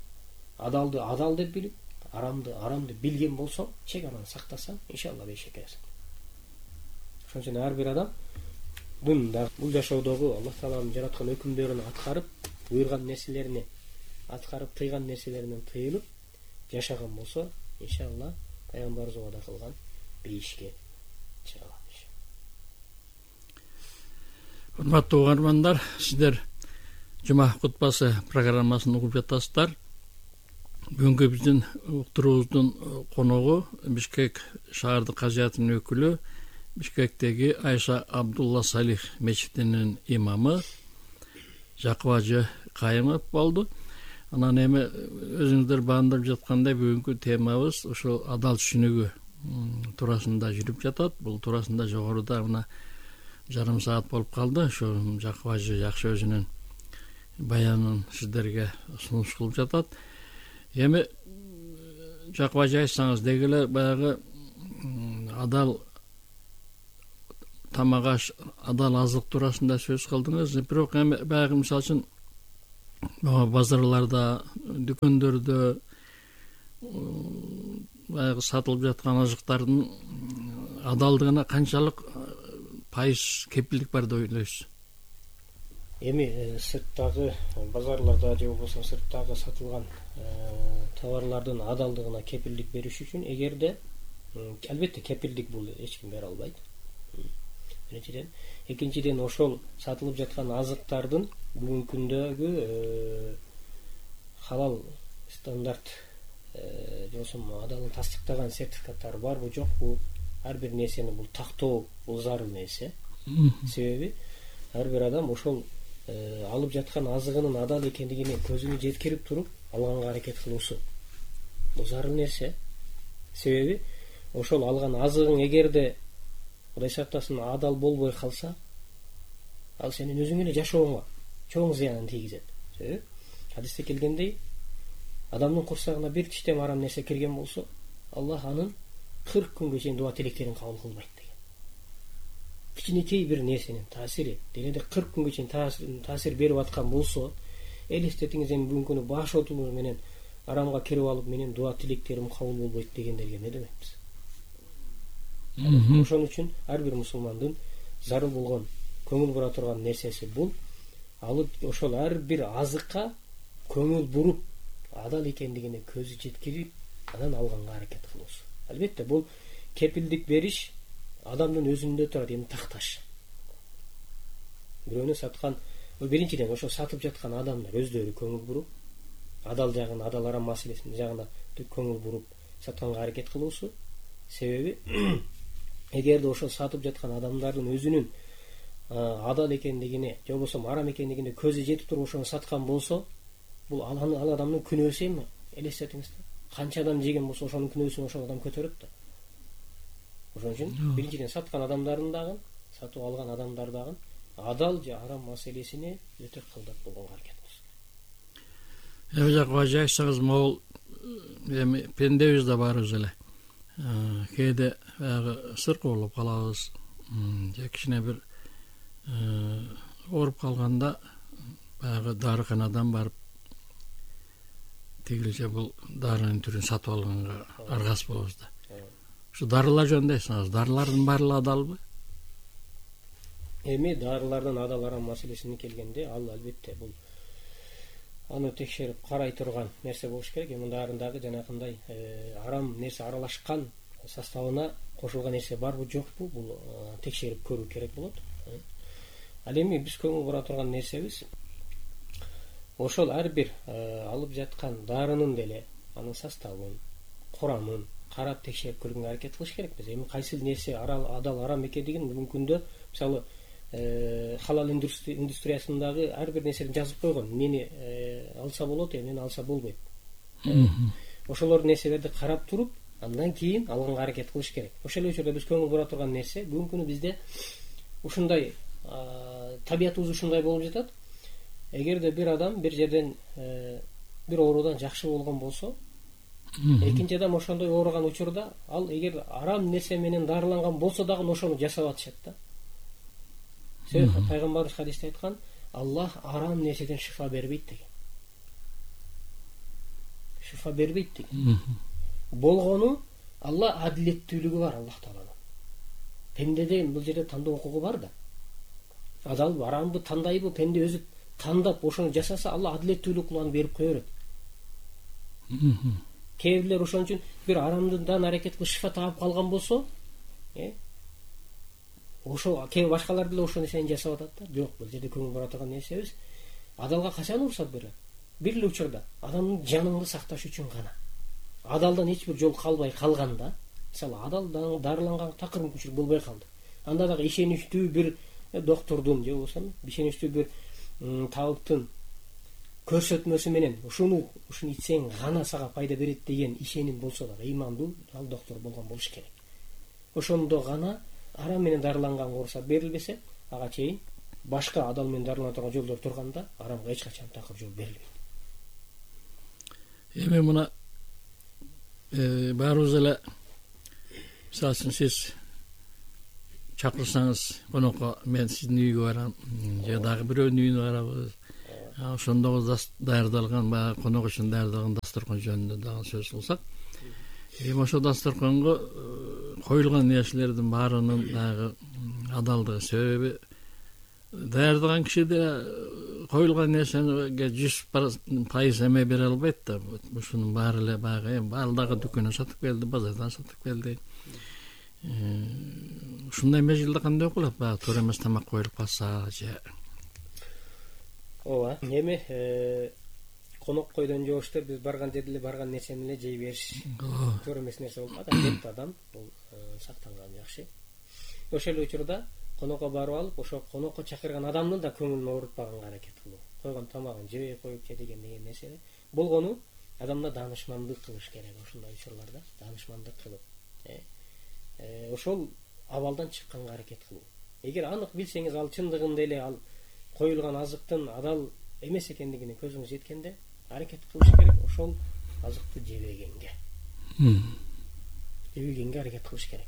адалды адал деп билип, арамды арам деп билген болсоң, чек анан сактасаң, иншалла бейишке киресиң. Ошон үчүн ар бир адам бул жашоодогу Аллах Тааланын жараткан өкүмдөрүн аткарып, буйрган нерселерине аткарып, тыйган нерселеринен тыйылып жашаган болсо, иншалла пайгамбарыбыз убада кылган бейишке чыга алат. Урматтуу угармандар, сиздер Жума кутбасы программасын угуп жатасыздар. Бүгүнкү биздин уктуруубуздун коногу Бишкек шаардык казыятынын өкүлү, Бишкектеги Айша Абдулла Салих мечитинин имамы Жакып Ажы Кайымов болду. Анан эми өзүңүздөр баамдап жаткандай бүгүнкү темабыз ошол адал түшүнүгү туурасында жүрүп жатат. Бул туурасында жогоруда мына жарым саат болуп калды. Ошо Жакып Ажы жакшы өзүнүн баянын сиздерге сунуш кылып жатат. Эми Жакып Ажы айтсаңыз, деги эле баягы адал тамак аш, адал азык туурасында сөз кылдыңыз. Бирок эми баягы мисалы үчүн базарларда, дүкөндөрдө баягы сатылып жаткан азыктардын адалдыгына канчалык пайыз кепилдик бар деп ойлойсуз? Эми сырттагы базарларда же болбосо сырттагы сатылган товарлардын адалдыгына кепилдик бериш үчүн эгерде албетте кепилдик бул эч ким бере албайт. Биринчиден, экинчиден ошол сатылып жаткан азыктардын бүгүнкү күндөгү халал стандарт же болбосо адалын тастыктаган сертификаттары барбы жокпу, ар бир нерсени бул тактоо бул зарыл нерсе. Себеби ар бир адам ошол алып жаткан азыгынын адал экендигине көзүнө жеткирип туруп алганга аракет кылуусу бул зарыл нерсе. Себеби ошол алган азыгың эгерде Кудай сактасын адал болбой калса, ал сенин өзүңө эле жашооңо чоң зыянын тийгизет. Себеби хадисте келгендей, адамдын курсагына бир тиштем арам нерсе кирген болсо, Аллах анын 40 күнгө чейин дуа тилектерин кабыл кылбайт деген. Кичинекей бир нерсенин таасири денеде 40 күнгө чейин таасир берип аткан болсо, элестетиңиз, эми бүгүнкү күнү баш отумуз менен арамга кирип алып, менин дуа тилектерим кабыл болбойт дегендерге не демекпиз? Ошон үчүн ар бир мусулмандын зарыл болгон, көңүл бура турган нерсеси бул алып ошол ар бир азыкка көңүл буруп, адал экендигине көзү жеткирип, анан алганга аракет кылуусу. Албетте бул кепилдик бериш адамдын өзүндө турат, эми такташ. Бирөөнү саткан, биринчиден ошо сатып жаткан адамдар өздөрү көңүл буруп, адал жагын, адал арам маселесинин жагына көңүл буруп сатканга аракет кылуусу. Себеби эгерде ошо сатып жаткан адамдардын өзүнүн адал экендигине же болбосо арам экендигине көзү жетип туруп ошону саткан болсо, бул ал адамдын күнөөсү эми. Элестетиңиз, канча адам жеген болсо ошонун күнөөсүн ошол адам көтөрөт да. Ошон үчүн биринчиден саткан адамдардын дагы, сатып алган адамдар дагы адал же арам маселесине өтө кылдат болгонго аракет кылсын. Эми жакып айтсаңыз, могул эми пендебиз да барыбыз эле. Кээде баягы сыркы болуп калабыз, же кичине бир ооруп калганда баягы дарыканадан барып тигилче бул дарынын түрүн сатып алганга аргас болобуз да. Ушу дарылар жөнүндө айтсаңыз, дарылардын баары адалбы? Эми дарылардын адал арам маселесине келгенде, ал албетте бул аны текшерип карай турган нерсе болуш керек. Эми дарындагы жанакындай арам нерсе аралашкан составына кошулган нерсе барбы жокпу, бул текшерип көрүү керек болот. Ал эми биз көңүл бура турган нерсебиз ошол ар бир алып жаткан дарынын деле анын составын, курамын карап текшерип көргөнгө аракет кылыш керекпиз. Эми кайсы нерсе адал арам экендигин бүгүнкү күндө мисалы халал индустриясындагы ар бир нерсени жазып койгон. Мени алса болот, эмени алса болбойт. Ошолор нерселерди карап туруп, андан кийин алганга аракет кылыш керек. Ошол учурда биз көңүл бура турган нерсе бүгүнкү күнү бизде ушундай табиятыбыз ушундай болуп жатат. Эгерде бир адам бир жерден бир оорудан жакшы болгон болсо, экинчи адам ошондой ооруган учурда ал эгер арам нерсе менен дарыланган болсо дагы ошону жасап атышат да. Себеби пайгамбарыбыз хадисте айткан, Аллах арам нерседен шифа бербейт деген. Шифа бербейт деген. Болгону Алла адилеттүүлүгү бар Аллах Тааланын. Пендеде бул жерде тандоо укугу бар да. Адалбы, арамбы тандайбы, пенде өзү тандап ошону жасаса, Алла адилеттүүлүк кылып аны берип кое берет. Кээ бирлер ошон үчүн бир арамдан аракет кылып шифа таап калган болсо, ошо кээ башкалар деле ошол нерсени жасап атат да. Жок, бул жерде көңүл бура турган нерсебиз адалга качан уруксат берет? Бир эле учурда адамдын жаныңды сакташ үчүн гана. Адалдан эч бир жол калбай калганда, мисалы адал дарыланган такыр мүмкүнчүлүк болбой калды. Анда дагы ишеничтүү бир доктурдун же болбосо ишеничтүү бир табыптын көрсөтмөсү менен ушуну ичсең гана сага пайда берет деген ишеним болсо дагы, ыймандуу ал доктор болгон болуш керек. Ошондо гана арам менен дарыланган уруксат берилбесе, ага чейин башка адал менен дарылана турган жолдор турганда арамга эч качан такыр жол берилбейт. Эми мына баарыбыз эле мисалы үчүн сиз чакырсаңыз конокко мен сиздин үйгө барам же дагы бирөөнүн үйүнө барабыз. Ошондо даярдалган баягы конок үчүн даярдалган дасторкон жөнүндө дагы сөз кылсак, ошо дасторконго коюлган нерселердин баарынын дагы адалдыгы, себеби даярдаган киши да коюлган нерсеге 100% эме бере албайт да. Ушунун баары эле баягы баардыгы дүкөндөн сатып келди, базардан сатып келди. Ушундай мезгилде кандай окулат? Баягы туура эмес тамак коюлуп калса же. Ооба, эми конок койдон жооштор биз барган жерде эле барган нерсени эле жей бериш туура эмес нерсе болуп калат. Адетте адам бул сактанган жакшы. Ошол эле учурда конокко барып алып, ошо конокко чакырган адамдын да көңүлүн оорутпаганга аракет кылуу. Койгон тамагын жебей коюп же деген нерсе болгону адамда даанышмандык кылыш керек. Ушундай учурларда даанышмандык кылып, ошол абалдан чыкканга аракет кылуу. Эгер анык билсеңиз, ал чындыгында эле ал коюлган азыктын адал эмес экендигине көзүңүз жеткенде аракет кылыш керек. Ошол азыкты жебегенге аракет кылыш керек.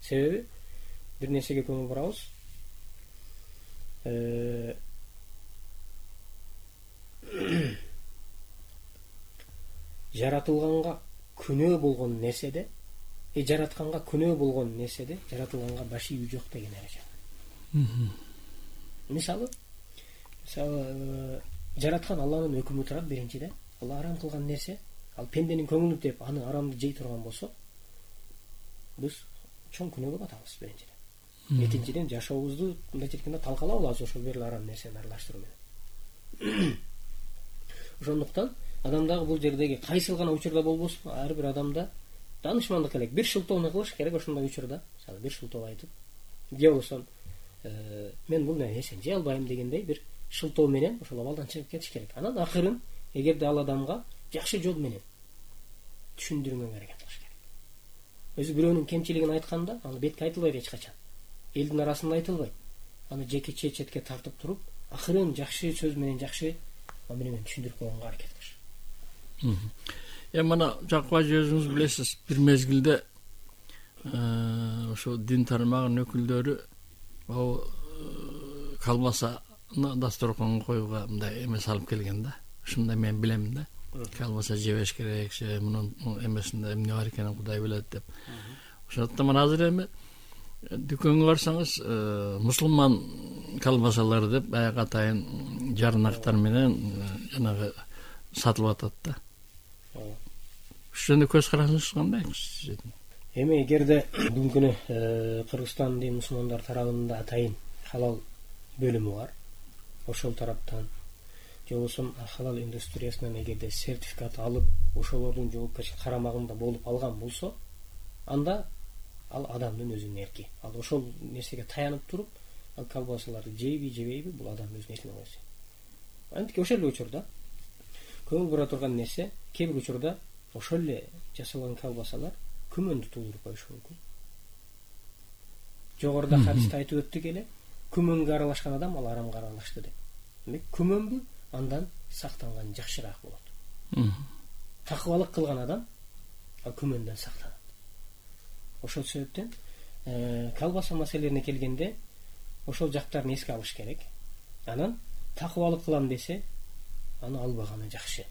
Себеби бир нерсеге көңүл бурабыз. Жаратылганга күнөө болгон нерседе, жаратканга күнөө болгон нерседе жаратылганга баш ийүү жок деген эреже. Мисалы жараткан Алланын өкүмү турат биринчиден. Алла арам кылган нерсе, ал пенденин көңүлү деп аны арамды жей турган болсо, биз чоң күнөөгө батабыз биринчиден. Экинчиден жашообузду мындай жеткенде талкалап алабыз ошол бир арам нерсени аралаштыруу менен. Ошондуктан адамдагы бул жердеги кайсыл гана учурда болбосун, ар бир адамда даанышмандык керек. Бир шылтоону кылыш керек ошондой учурда. Мисалы бир шылтоо айтып, же болбосо мен бул нерсени жей албайм дегендей бир шылтоо менен ошол абалдан чыгып кетиш керек. Анан акырын эгерде ал адамга жакшы жол менен түшүндүргөнгө аракет кылыш керек. Өзү бирөөнүн кемчилигин айтканда, аны бетке айтылбайт эч качан. Элдин арасында айтылбайт. Аны жеке четке тартып туруп, акырын жакшы сөз менен, жакшы менен түшүндүрүп койгонго аракет кылыш. Мына Жакып ажы өзүңүз билесиз, бир мезгилде ошо дин тармагынын өкүлдөрү колбасаны дасторконго коюуга мындай эме салып келген да. Ушундай мен билем да. Колбаса жебеш керек, мунун эмесинде эмне бар экенин Кудай билет деп. Ошондуктан мына азыр эми дүкөнгө барсаңыз, мусулман колбасалар деп баягы атайын жарнактар менен жанагы сатылып атат да. Ушундай көз карашыңыз кандай? Эми эгерде бүгүнкү күнү Кыргызстандын мусулмандар тарабында атайын халал бөлүмү бар, ошол тараптан же болбосо халал индустриясынан эгерде сертификат алып, ошолордун жоопкерчилик карамагында болуп алган болсо, анда ал адамдын өзүнүн эрки. Ал ошол нерсеге таянып туруп, ал колбасаларды жейби, жебейби, бул адамдын өзүнүн эркине койсо. Антип ошол эле учурда көңүл бура турган нерсе, кээ бир учурда ошол эле жасалган колбасалар күмөндү туудуруп коюшу мүмкүн. Жогоруда хадисте айтып өттүк эле, күмөнгө аралашкан адам ал арамга аралашты деп. Демек, күмөнбү андан сактанган жакшыраак болот. Такыбалык кылган адам ал күмөндөн сактанат. Ошол себептен колбаса маселелерине келгенде ошол жактарын эске алыш керек. Анан такыбалык кылам десе, аны албаганы жакшы.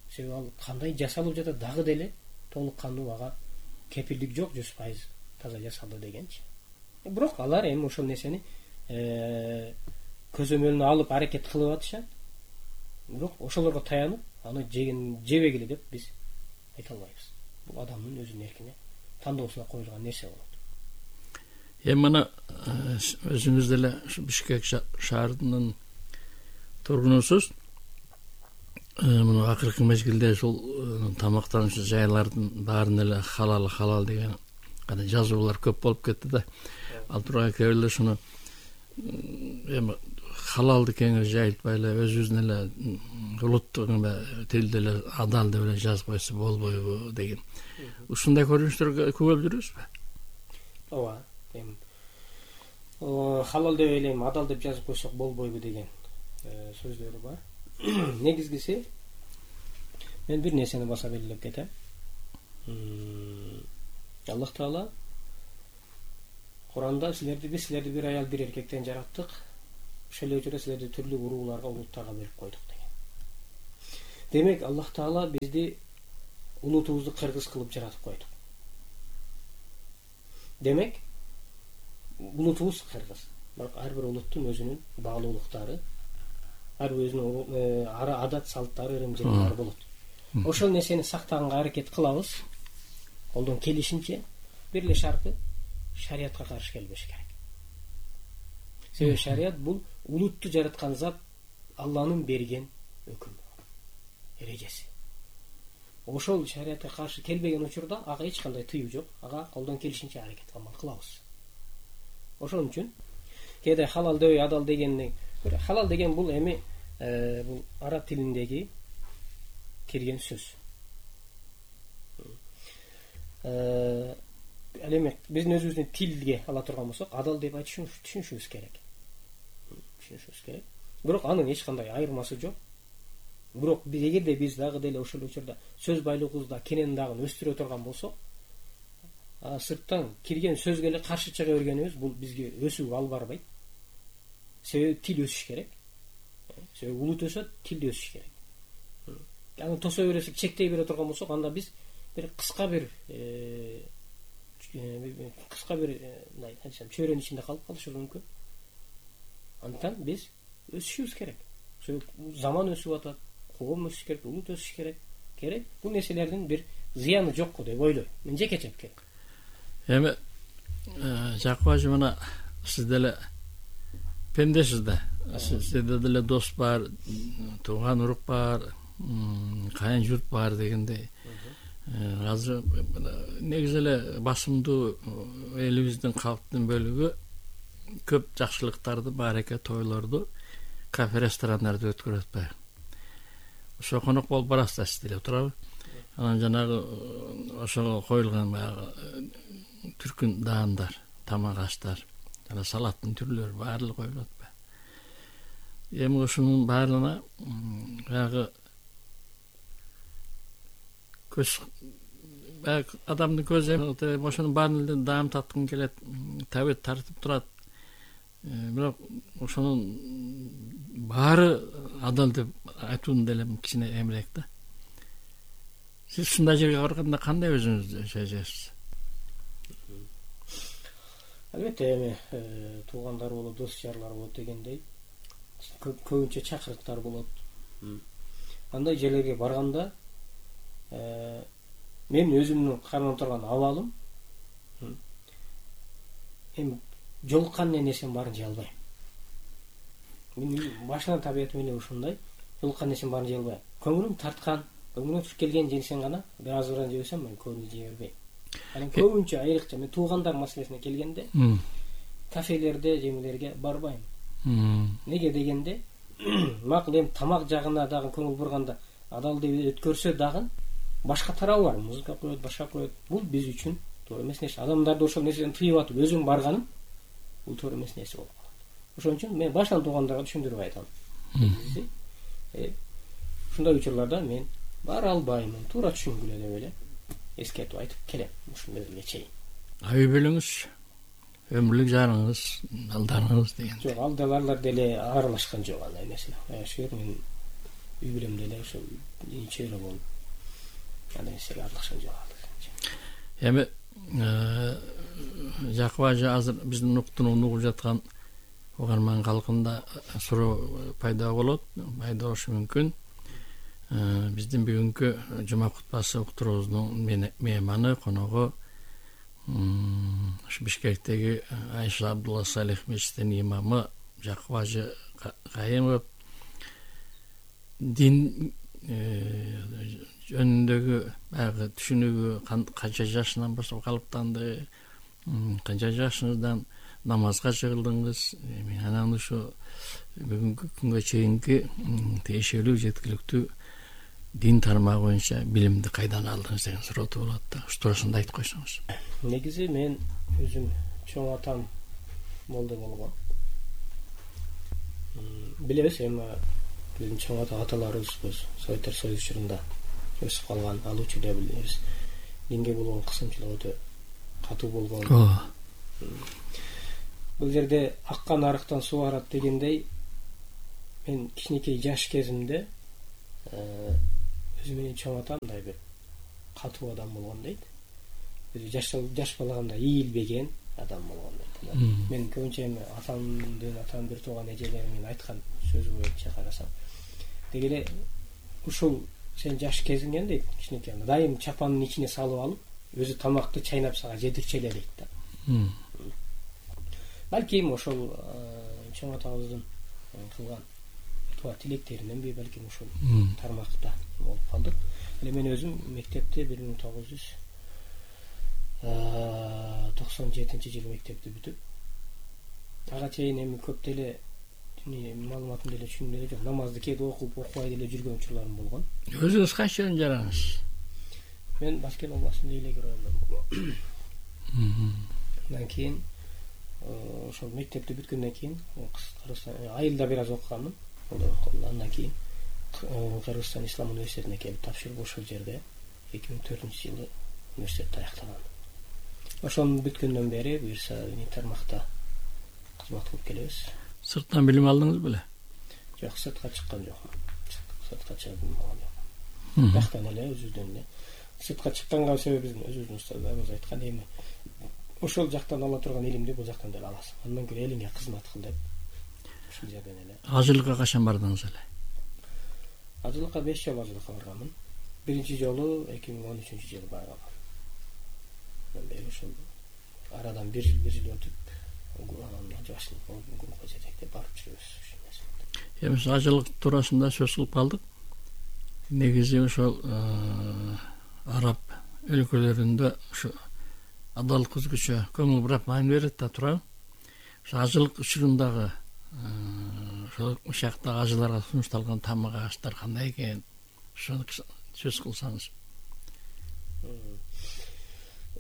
Себеби ал кандай жасалып жатат дагы деле толук кандуу ага кепилдик жок, 100% таза жасалды дегенчи. Бирок алар эми ошол нерсени көзөмөлүнө алып аракет кылып атышат. Бирок ошолорго таянып, аны жебегиле деп биз айта албайбыз. Бул адамдын өзүнүн эркине, тандоосуна коюлган нерсе болот. Мына өзүңүз деле Бишкек шаарынын тургунусуз. Мына акыркы мезгилде ушул тамактануучу жайлардын баарын эле халал деген кандай жазуулар көп болуп кетти да. Ал турган кээ бирде шуну эми халалды кеңири жайылтпай эле өзүбүздүн эле улуттук тилде эле адал деп эле жазып койсо болбойбу деген. Ушундай көрүнүштөргө күбө болуп жүрөбүзбү? Ооба. Эми халал деп эле адал деп жазып койсок болбойбу деген сөздөрү бар. Негизгиси мен бир нерсени баса белгилеп кетем. Аллах Таала Куранда биз силерди бир аял бир эркектен жараттык, ошол эле учурда силерди түрлүү урууларга, улуттарга бөлүп койдук деген. Демек Аллах Таала бизди улутубузду кыргыз кылып жаратып койду. Демек улутубуз кыргыз. Бирок ар бир улуттун өзүнүн баалуулуктары, ар өзүнүн адат салттары, ырым-жырлары болот. Ошол нерсени сактаганга аракет кылабыз. Колдон келишинче бир эле шарты шариятка каршы келбеш керек. Себеби шарият бул улутту жараткан зат Алланын берген өкүмү, эрежеси. Ошол шариятка каршы келбеген учурда ага эч кандай тыюу жок. Ага колдон келишинче аракет кылабыз. Ошон үчүн кээде халал дөй адал дегенди, халал деген бул эми бул араб тилиндеги кирген сөз. Ал эми биздин өзүбүздүн тилге ала турган болсок, адал деп түшүнүшүбүз керек. Бирок анын эч кандай айырмасы жок. Бирок эгерде биз дагы деле ошол учурда сөз байлыгыбызды кенен дагы өстүрө турган болсок, сырттан кирген сөзгө эле каршы чыга бергенибиз бул бизге өсүүгө алып барбайт. Себеби тил өсүш керек. Себеби улут өсөт, тил да өсүш керек. Аны тосо бересек, чектей бере турган болсок, анда биз бир кыска бир чөйрөнүн ичинде калып калышыбыз мүмкүн. Андыктан биз өсүшүбүз керек. Заман өсүп атат, коом өсүш керек, улут өсүш керек. Бул нерселердин бир зыяны жокку деп ойлойм. Мен жекече пикирим. Эми Жакып ажы, мына сиз деле пендесиз да. Сизде деле дос бар, тууган урук бар, кайын журт бар дегендей. Азыр негизи эле басымдуу элибиздин калктын бөлүгү көп жакшылыктарды, баареке тойлорду кафе ресторандарда өткөрөт атпайбы. Ошо конок болуп барасыздар сиз деле, туурабы? Анан жанагы ошого коюлган баягы түркүн даандар, тамак аштар, жана салаттын түрлөрү баардыгы коюлуп атпайбы? Эми ошонун баардыгына баягы адамдын көзү ошонун баарын даам таткың келет, табет тартып турат. Бирок ошонун баары адал деп айтуун деле кичине эмирээк да. Сиз ушундай жерге барганда кандай өзүңүздү сезесиз? Албетте, эми туугандар болот, дос жарлар болот дегендей, көбүнчө чакырыктар болот. Андай жерлерге барганда мен өзүмдүн кармап турган абалым эми жолуккан нерсенин баарын жей албайм. Мен башынан табиятым эле ушундай, жолуккан нерсенин баарын жей албайм. Көңүлүм тарткан, көңүлүм туруп келген нерсени гана бир азырдан жебесем, мен көбүн жей бербейм. Анан көбүнчө айрыкча мен туугандар маселесине келгенде кафелерде, жемелерге барбайм. Неге дегенде, макул эми тамак жагына дагы көңүл бурганда адал деп өткөрсө дагы башка тарабы бар. Музыка коет, башка коет. Бул биз үчүн туура эмес нерсе. Адамдарды ошол нерседен тыйып атып өзүм барганым бул туура эмес нерсе болуп калат. Ошон үчүн мен башынан туугандарга түшүндүрүп айтам. Ушундай учурларда мен бара албаймын, туура түшүнгүлө деп эле эскертип айтып келем ушул мезгилге чейин. Үй бүлөңүз, өмүрлүк жарыңыз, балдарыңыз деген. Жок, алдаларлар деле аралашкан жок андай нерсе. Ошол мен үй бүлөм деле ошол чөйрө болуп андай нерсеге аралашкан жок. Эми Жакып ажы азыр биздин уктууну угуп жаткан угарман калкында суроо пайда болот, пайда болушу мүмкүн. Биздин бүгүнкү жума кутбасы уктуруубуздун мейманы, коногу Бишкектеги Айша Абдулла Салих мечитинин имамы Жакып ажы Кайымов. Дин жөнүндөгү баягы түшүнүгү канча жашынан баштап калыптанды, канча жашыңыздан намазга чыгылдыңыз, анан ушу бүгүнкү күнгө чейинки тиешелүү жеткиликтүү дин тармагы боюнча билимди кайдан алдыңыз деген суроо болот да. Ушу туурасында айтып койсоңуз. Негизи мен өзүм чоң атам молда болгон. Билебиз, эми биздин чоң аталарыбыз Советтер Союзу учурунда өсүп калган, ал учурда билебиз. Динге болгон кысымчылык өтө катуу болгон. Бул жерде аккан арыктан суу арат дегендей, мен кичинекей жаш кезимде өзү менен чоң атам мындай бир катуу адам болгон дейт. Өзү жаш балагында ийилбеген адам болгон дейт. Мен көбүнчө эми атам бир тууган эжелерим менен айткан сөзү боюнча карасам, деги эле ушул сен жаш кезиңен дейт, кичинекей дайым чапанын ичине салып алып, өзү тамакты чайнап сага жедирчү эле дейт да. Балким ошол чоң атабыздын кылган туа тилектериненби, балким ушул тармакта болуп калдык. Эле мен өзүм мектепти 1997-жылы мектепти бүтүп, ага чейин эми көп деле маалыматым деле түшүнүм деле жок. Намазды кээде окубай деле жүргөн учурларым болгон. Өзүңүз кайча жерден жараңыз? Мен Баскен областында Илегер районунан болгом. Андан кийин ошол мектепти бүткөндөн кийин айылда бир аз окуганмын. Андан кийин Кыргызстан Ислам университетине келип тапшырып, ошол жерде 2004-жылы университетти аяктагам. Ошону бүткөндөн бери буюрса тармакта кызмат кылып келебиз. Сырттан билим алдыңыз беле? Жок, сыртка чыккан жокмун. Сыртка чыгып билим алган жокмун. Жактан эле өзүбүздөн эле. Сыртка чыкканга себеби биздин өзүбүздүн устаздарыбыз айткан, эми ошол жактан ала турган илимди бул жактан деле аласың. Андан көрө элиңе кызмат кыл деп ушул жерден эле. Ажылыкка качан бардыңыз эле? Ажылыкка 5 жолу ажылыкка барганмын. Биринчи жолу 2013-жылы барганмын. Андан бери ошол арадан бир жыл өтүп, жашын группа жетектеп барып жүрөбүз. Эми ажылык туурасында сөз кылып калдык. Негизи ошол араб өлкөлөрүндө ушу адалдык өзгөчө көңүл бурап маани берет да турабы. Ошо ажылык учурундагы ошол жактагы ажыларга сунушталган тамак аштар кандай экен, ошону сөз кылсаңыз.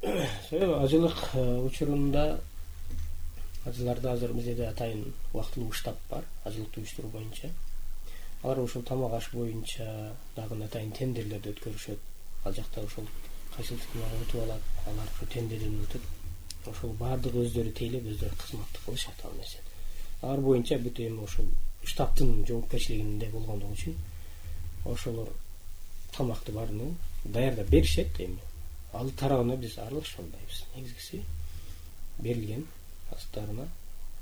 Ажылык учурунда ажыларда азыр бизде атайын убактылуу штаб бар, ажылыкты уюштуруу боюнча. Алар ошол тамак аш боюнча дагы атайын тендерлерди өткөрүшөт. Ал жакта ошол кайсылыктын өтүп алат, алар ошо тендерден өтүп, ошол баардыгы өздөрү тейлеп, өздөрү кызматты кылышат ал нерсе. Алар боюнча бүт эми ошол штабтын жоопкерчилигинде болгондугу үчүн ошолор тамакты баарын даярдап беришет. Эми ал тарабына биз аралашпайбыз. Негизгиси берилген астарына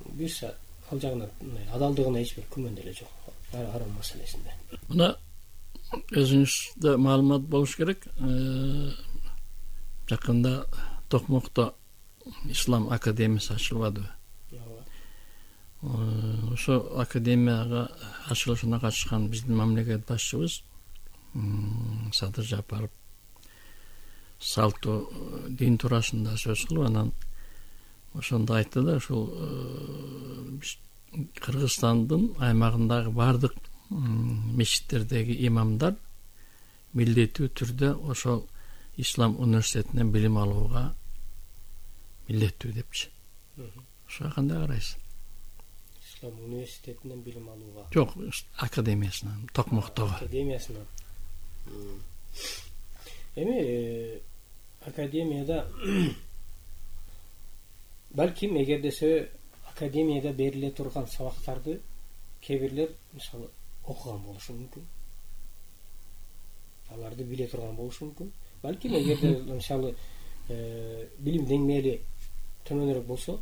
буюрса ал жагына адалдыгына эч бир күмөн деле жок. Арам маселесинде. Мына өзүңүздө маалымат болуш керек. Жакында Токмокто Ислам академиясы ачылып атпайбы? Ошо академияга ачылышына катышкан биздин мамлекет башчыбыз Садыр Жапаров салтуу дин туурасында сөз кылып, анан ошондо айтты да, ушул Кыргызстандын аймагындагы баардык мечиттердеги имамдар милдеттүү түрдө ошол Ислам университетинен билим алууга милдеттүү депчи. Ошого кандай карайсыз? Ислам университетинен билим алууга? Жок, академиясынан, Токмоктогу. Академиясынан. Эми академияда балким эгерде академияда бериле турган сабактарды кээ бирлер мисалы окуган болушу мүмкүн. Аларды биле турган болушу мүмкүн. Балким эгерде мисалы билим деңгээли төмөнүрөөк болсо,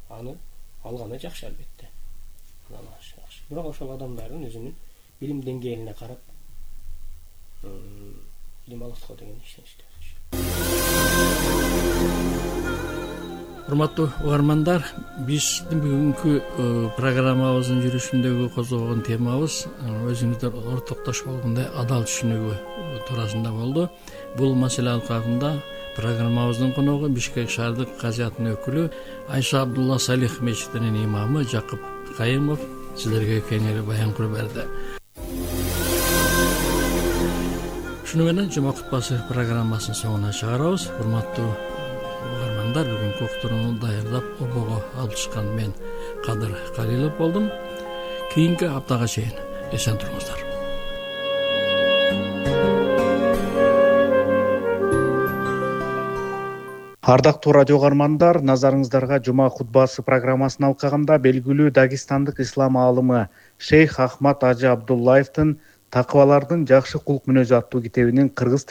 аны алганы жакшы албетте. Бирок ошол адамдардын өзүнүн билим деңгээлине карап билим алат го деген ишеничте. Урматтуу угармандар, биздин бүгүнкү программабыздын жүрүшүндөгү козгогон темабыз өзүңүздөр ортоктош болгондой адал түшүнүгү туурасында болду. Бул маселе алкагында программабыздын коногу Бишкек шаардык казиятынын өкүлү Айша Абдулла Салих мечитинин имамы Жакып Кайымов силерге кеңири баян кылып берди. Шуну менен жума кутпасы программасынын соңуна чыгарабыз. Урматтуу угармандар, бүгүнкү уктурууну даярдап обого алып чыккан мен Кадыр Калилов болдум. Кийинки аптага чейин эсен туруңуздар. Ардактуу радио каармандар, назарыңыздарга жума хутбасы программасын алкаганда белгилүү дагестандык ислам аалымы Шейх Ахмад Ажы Абдуллаевдин «Такыбалардын жакшы кулк мүнөзү» аттуу китебинин кыргыз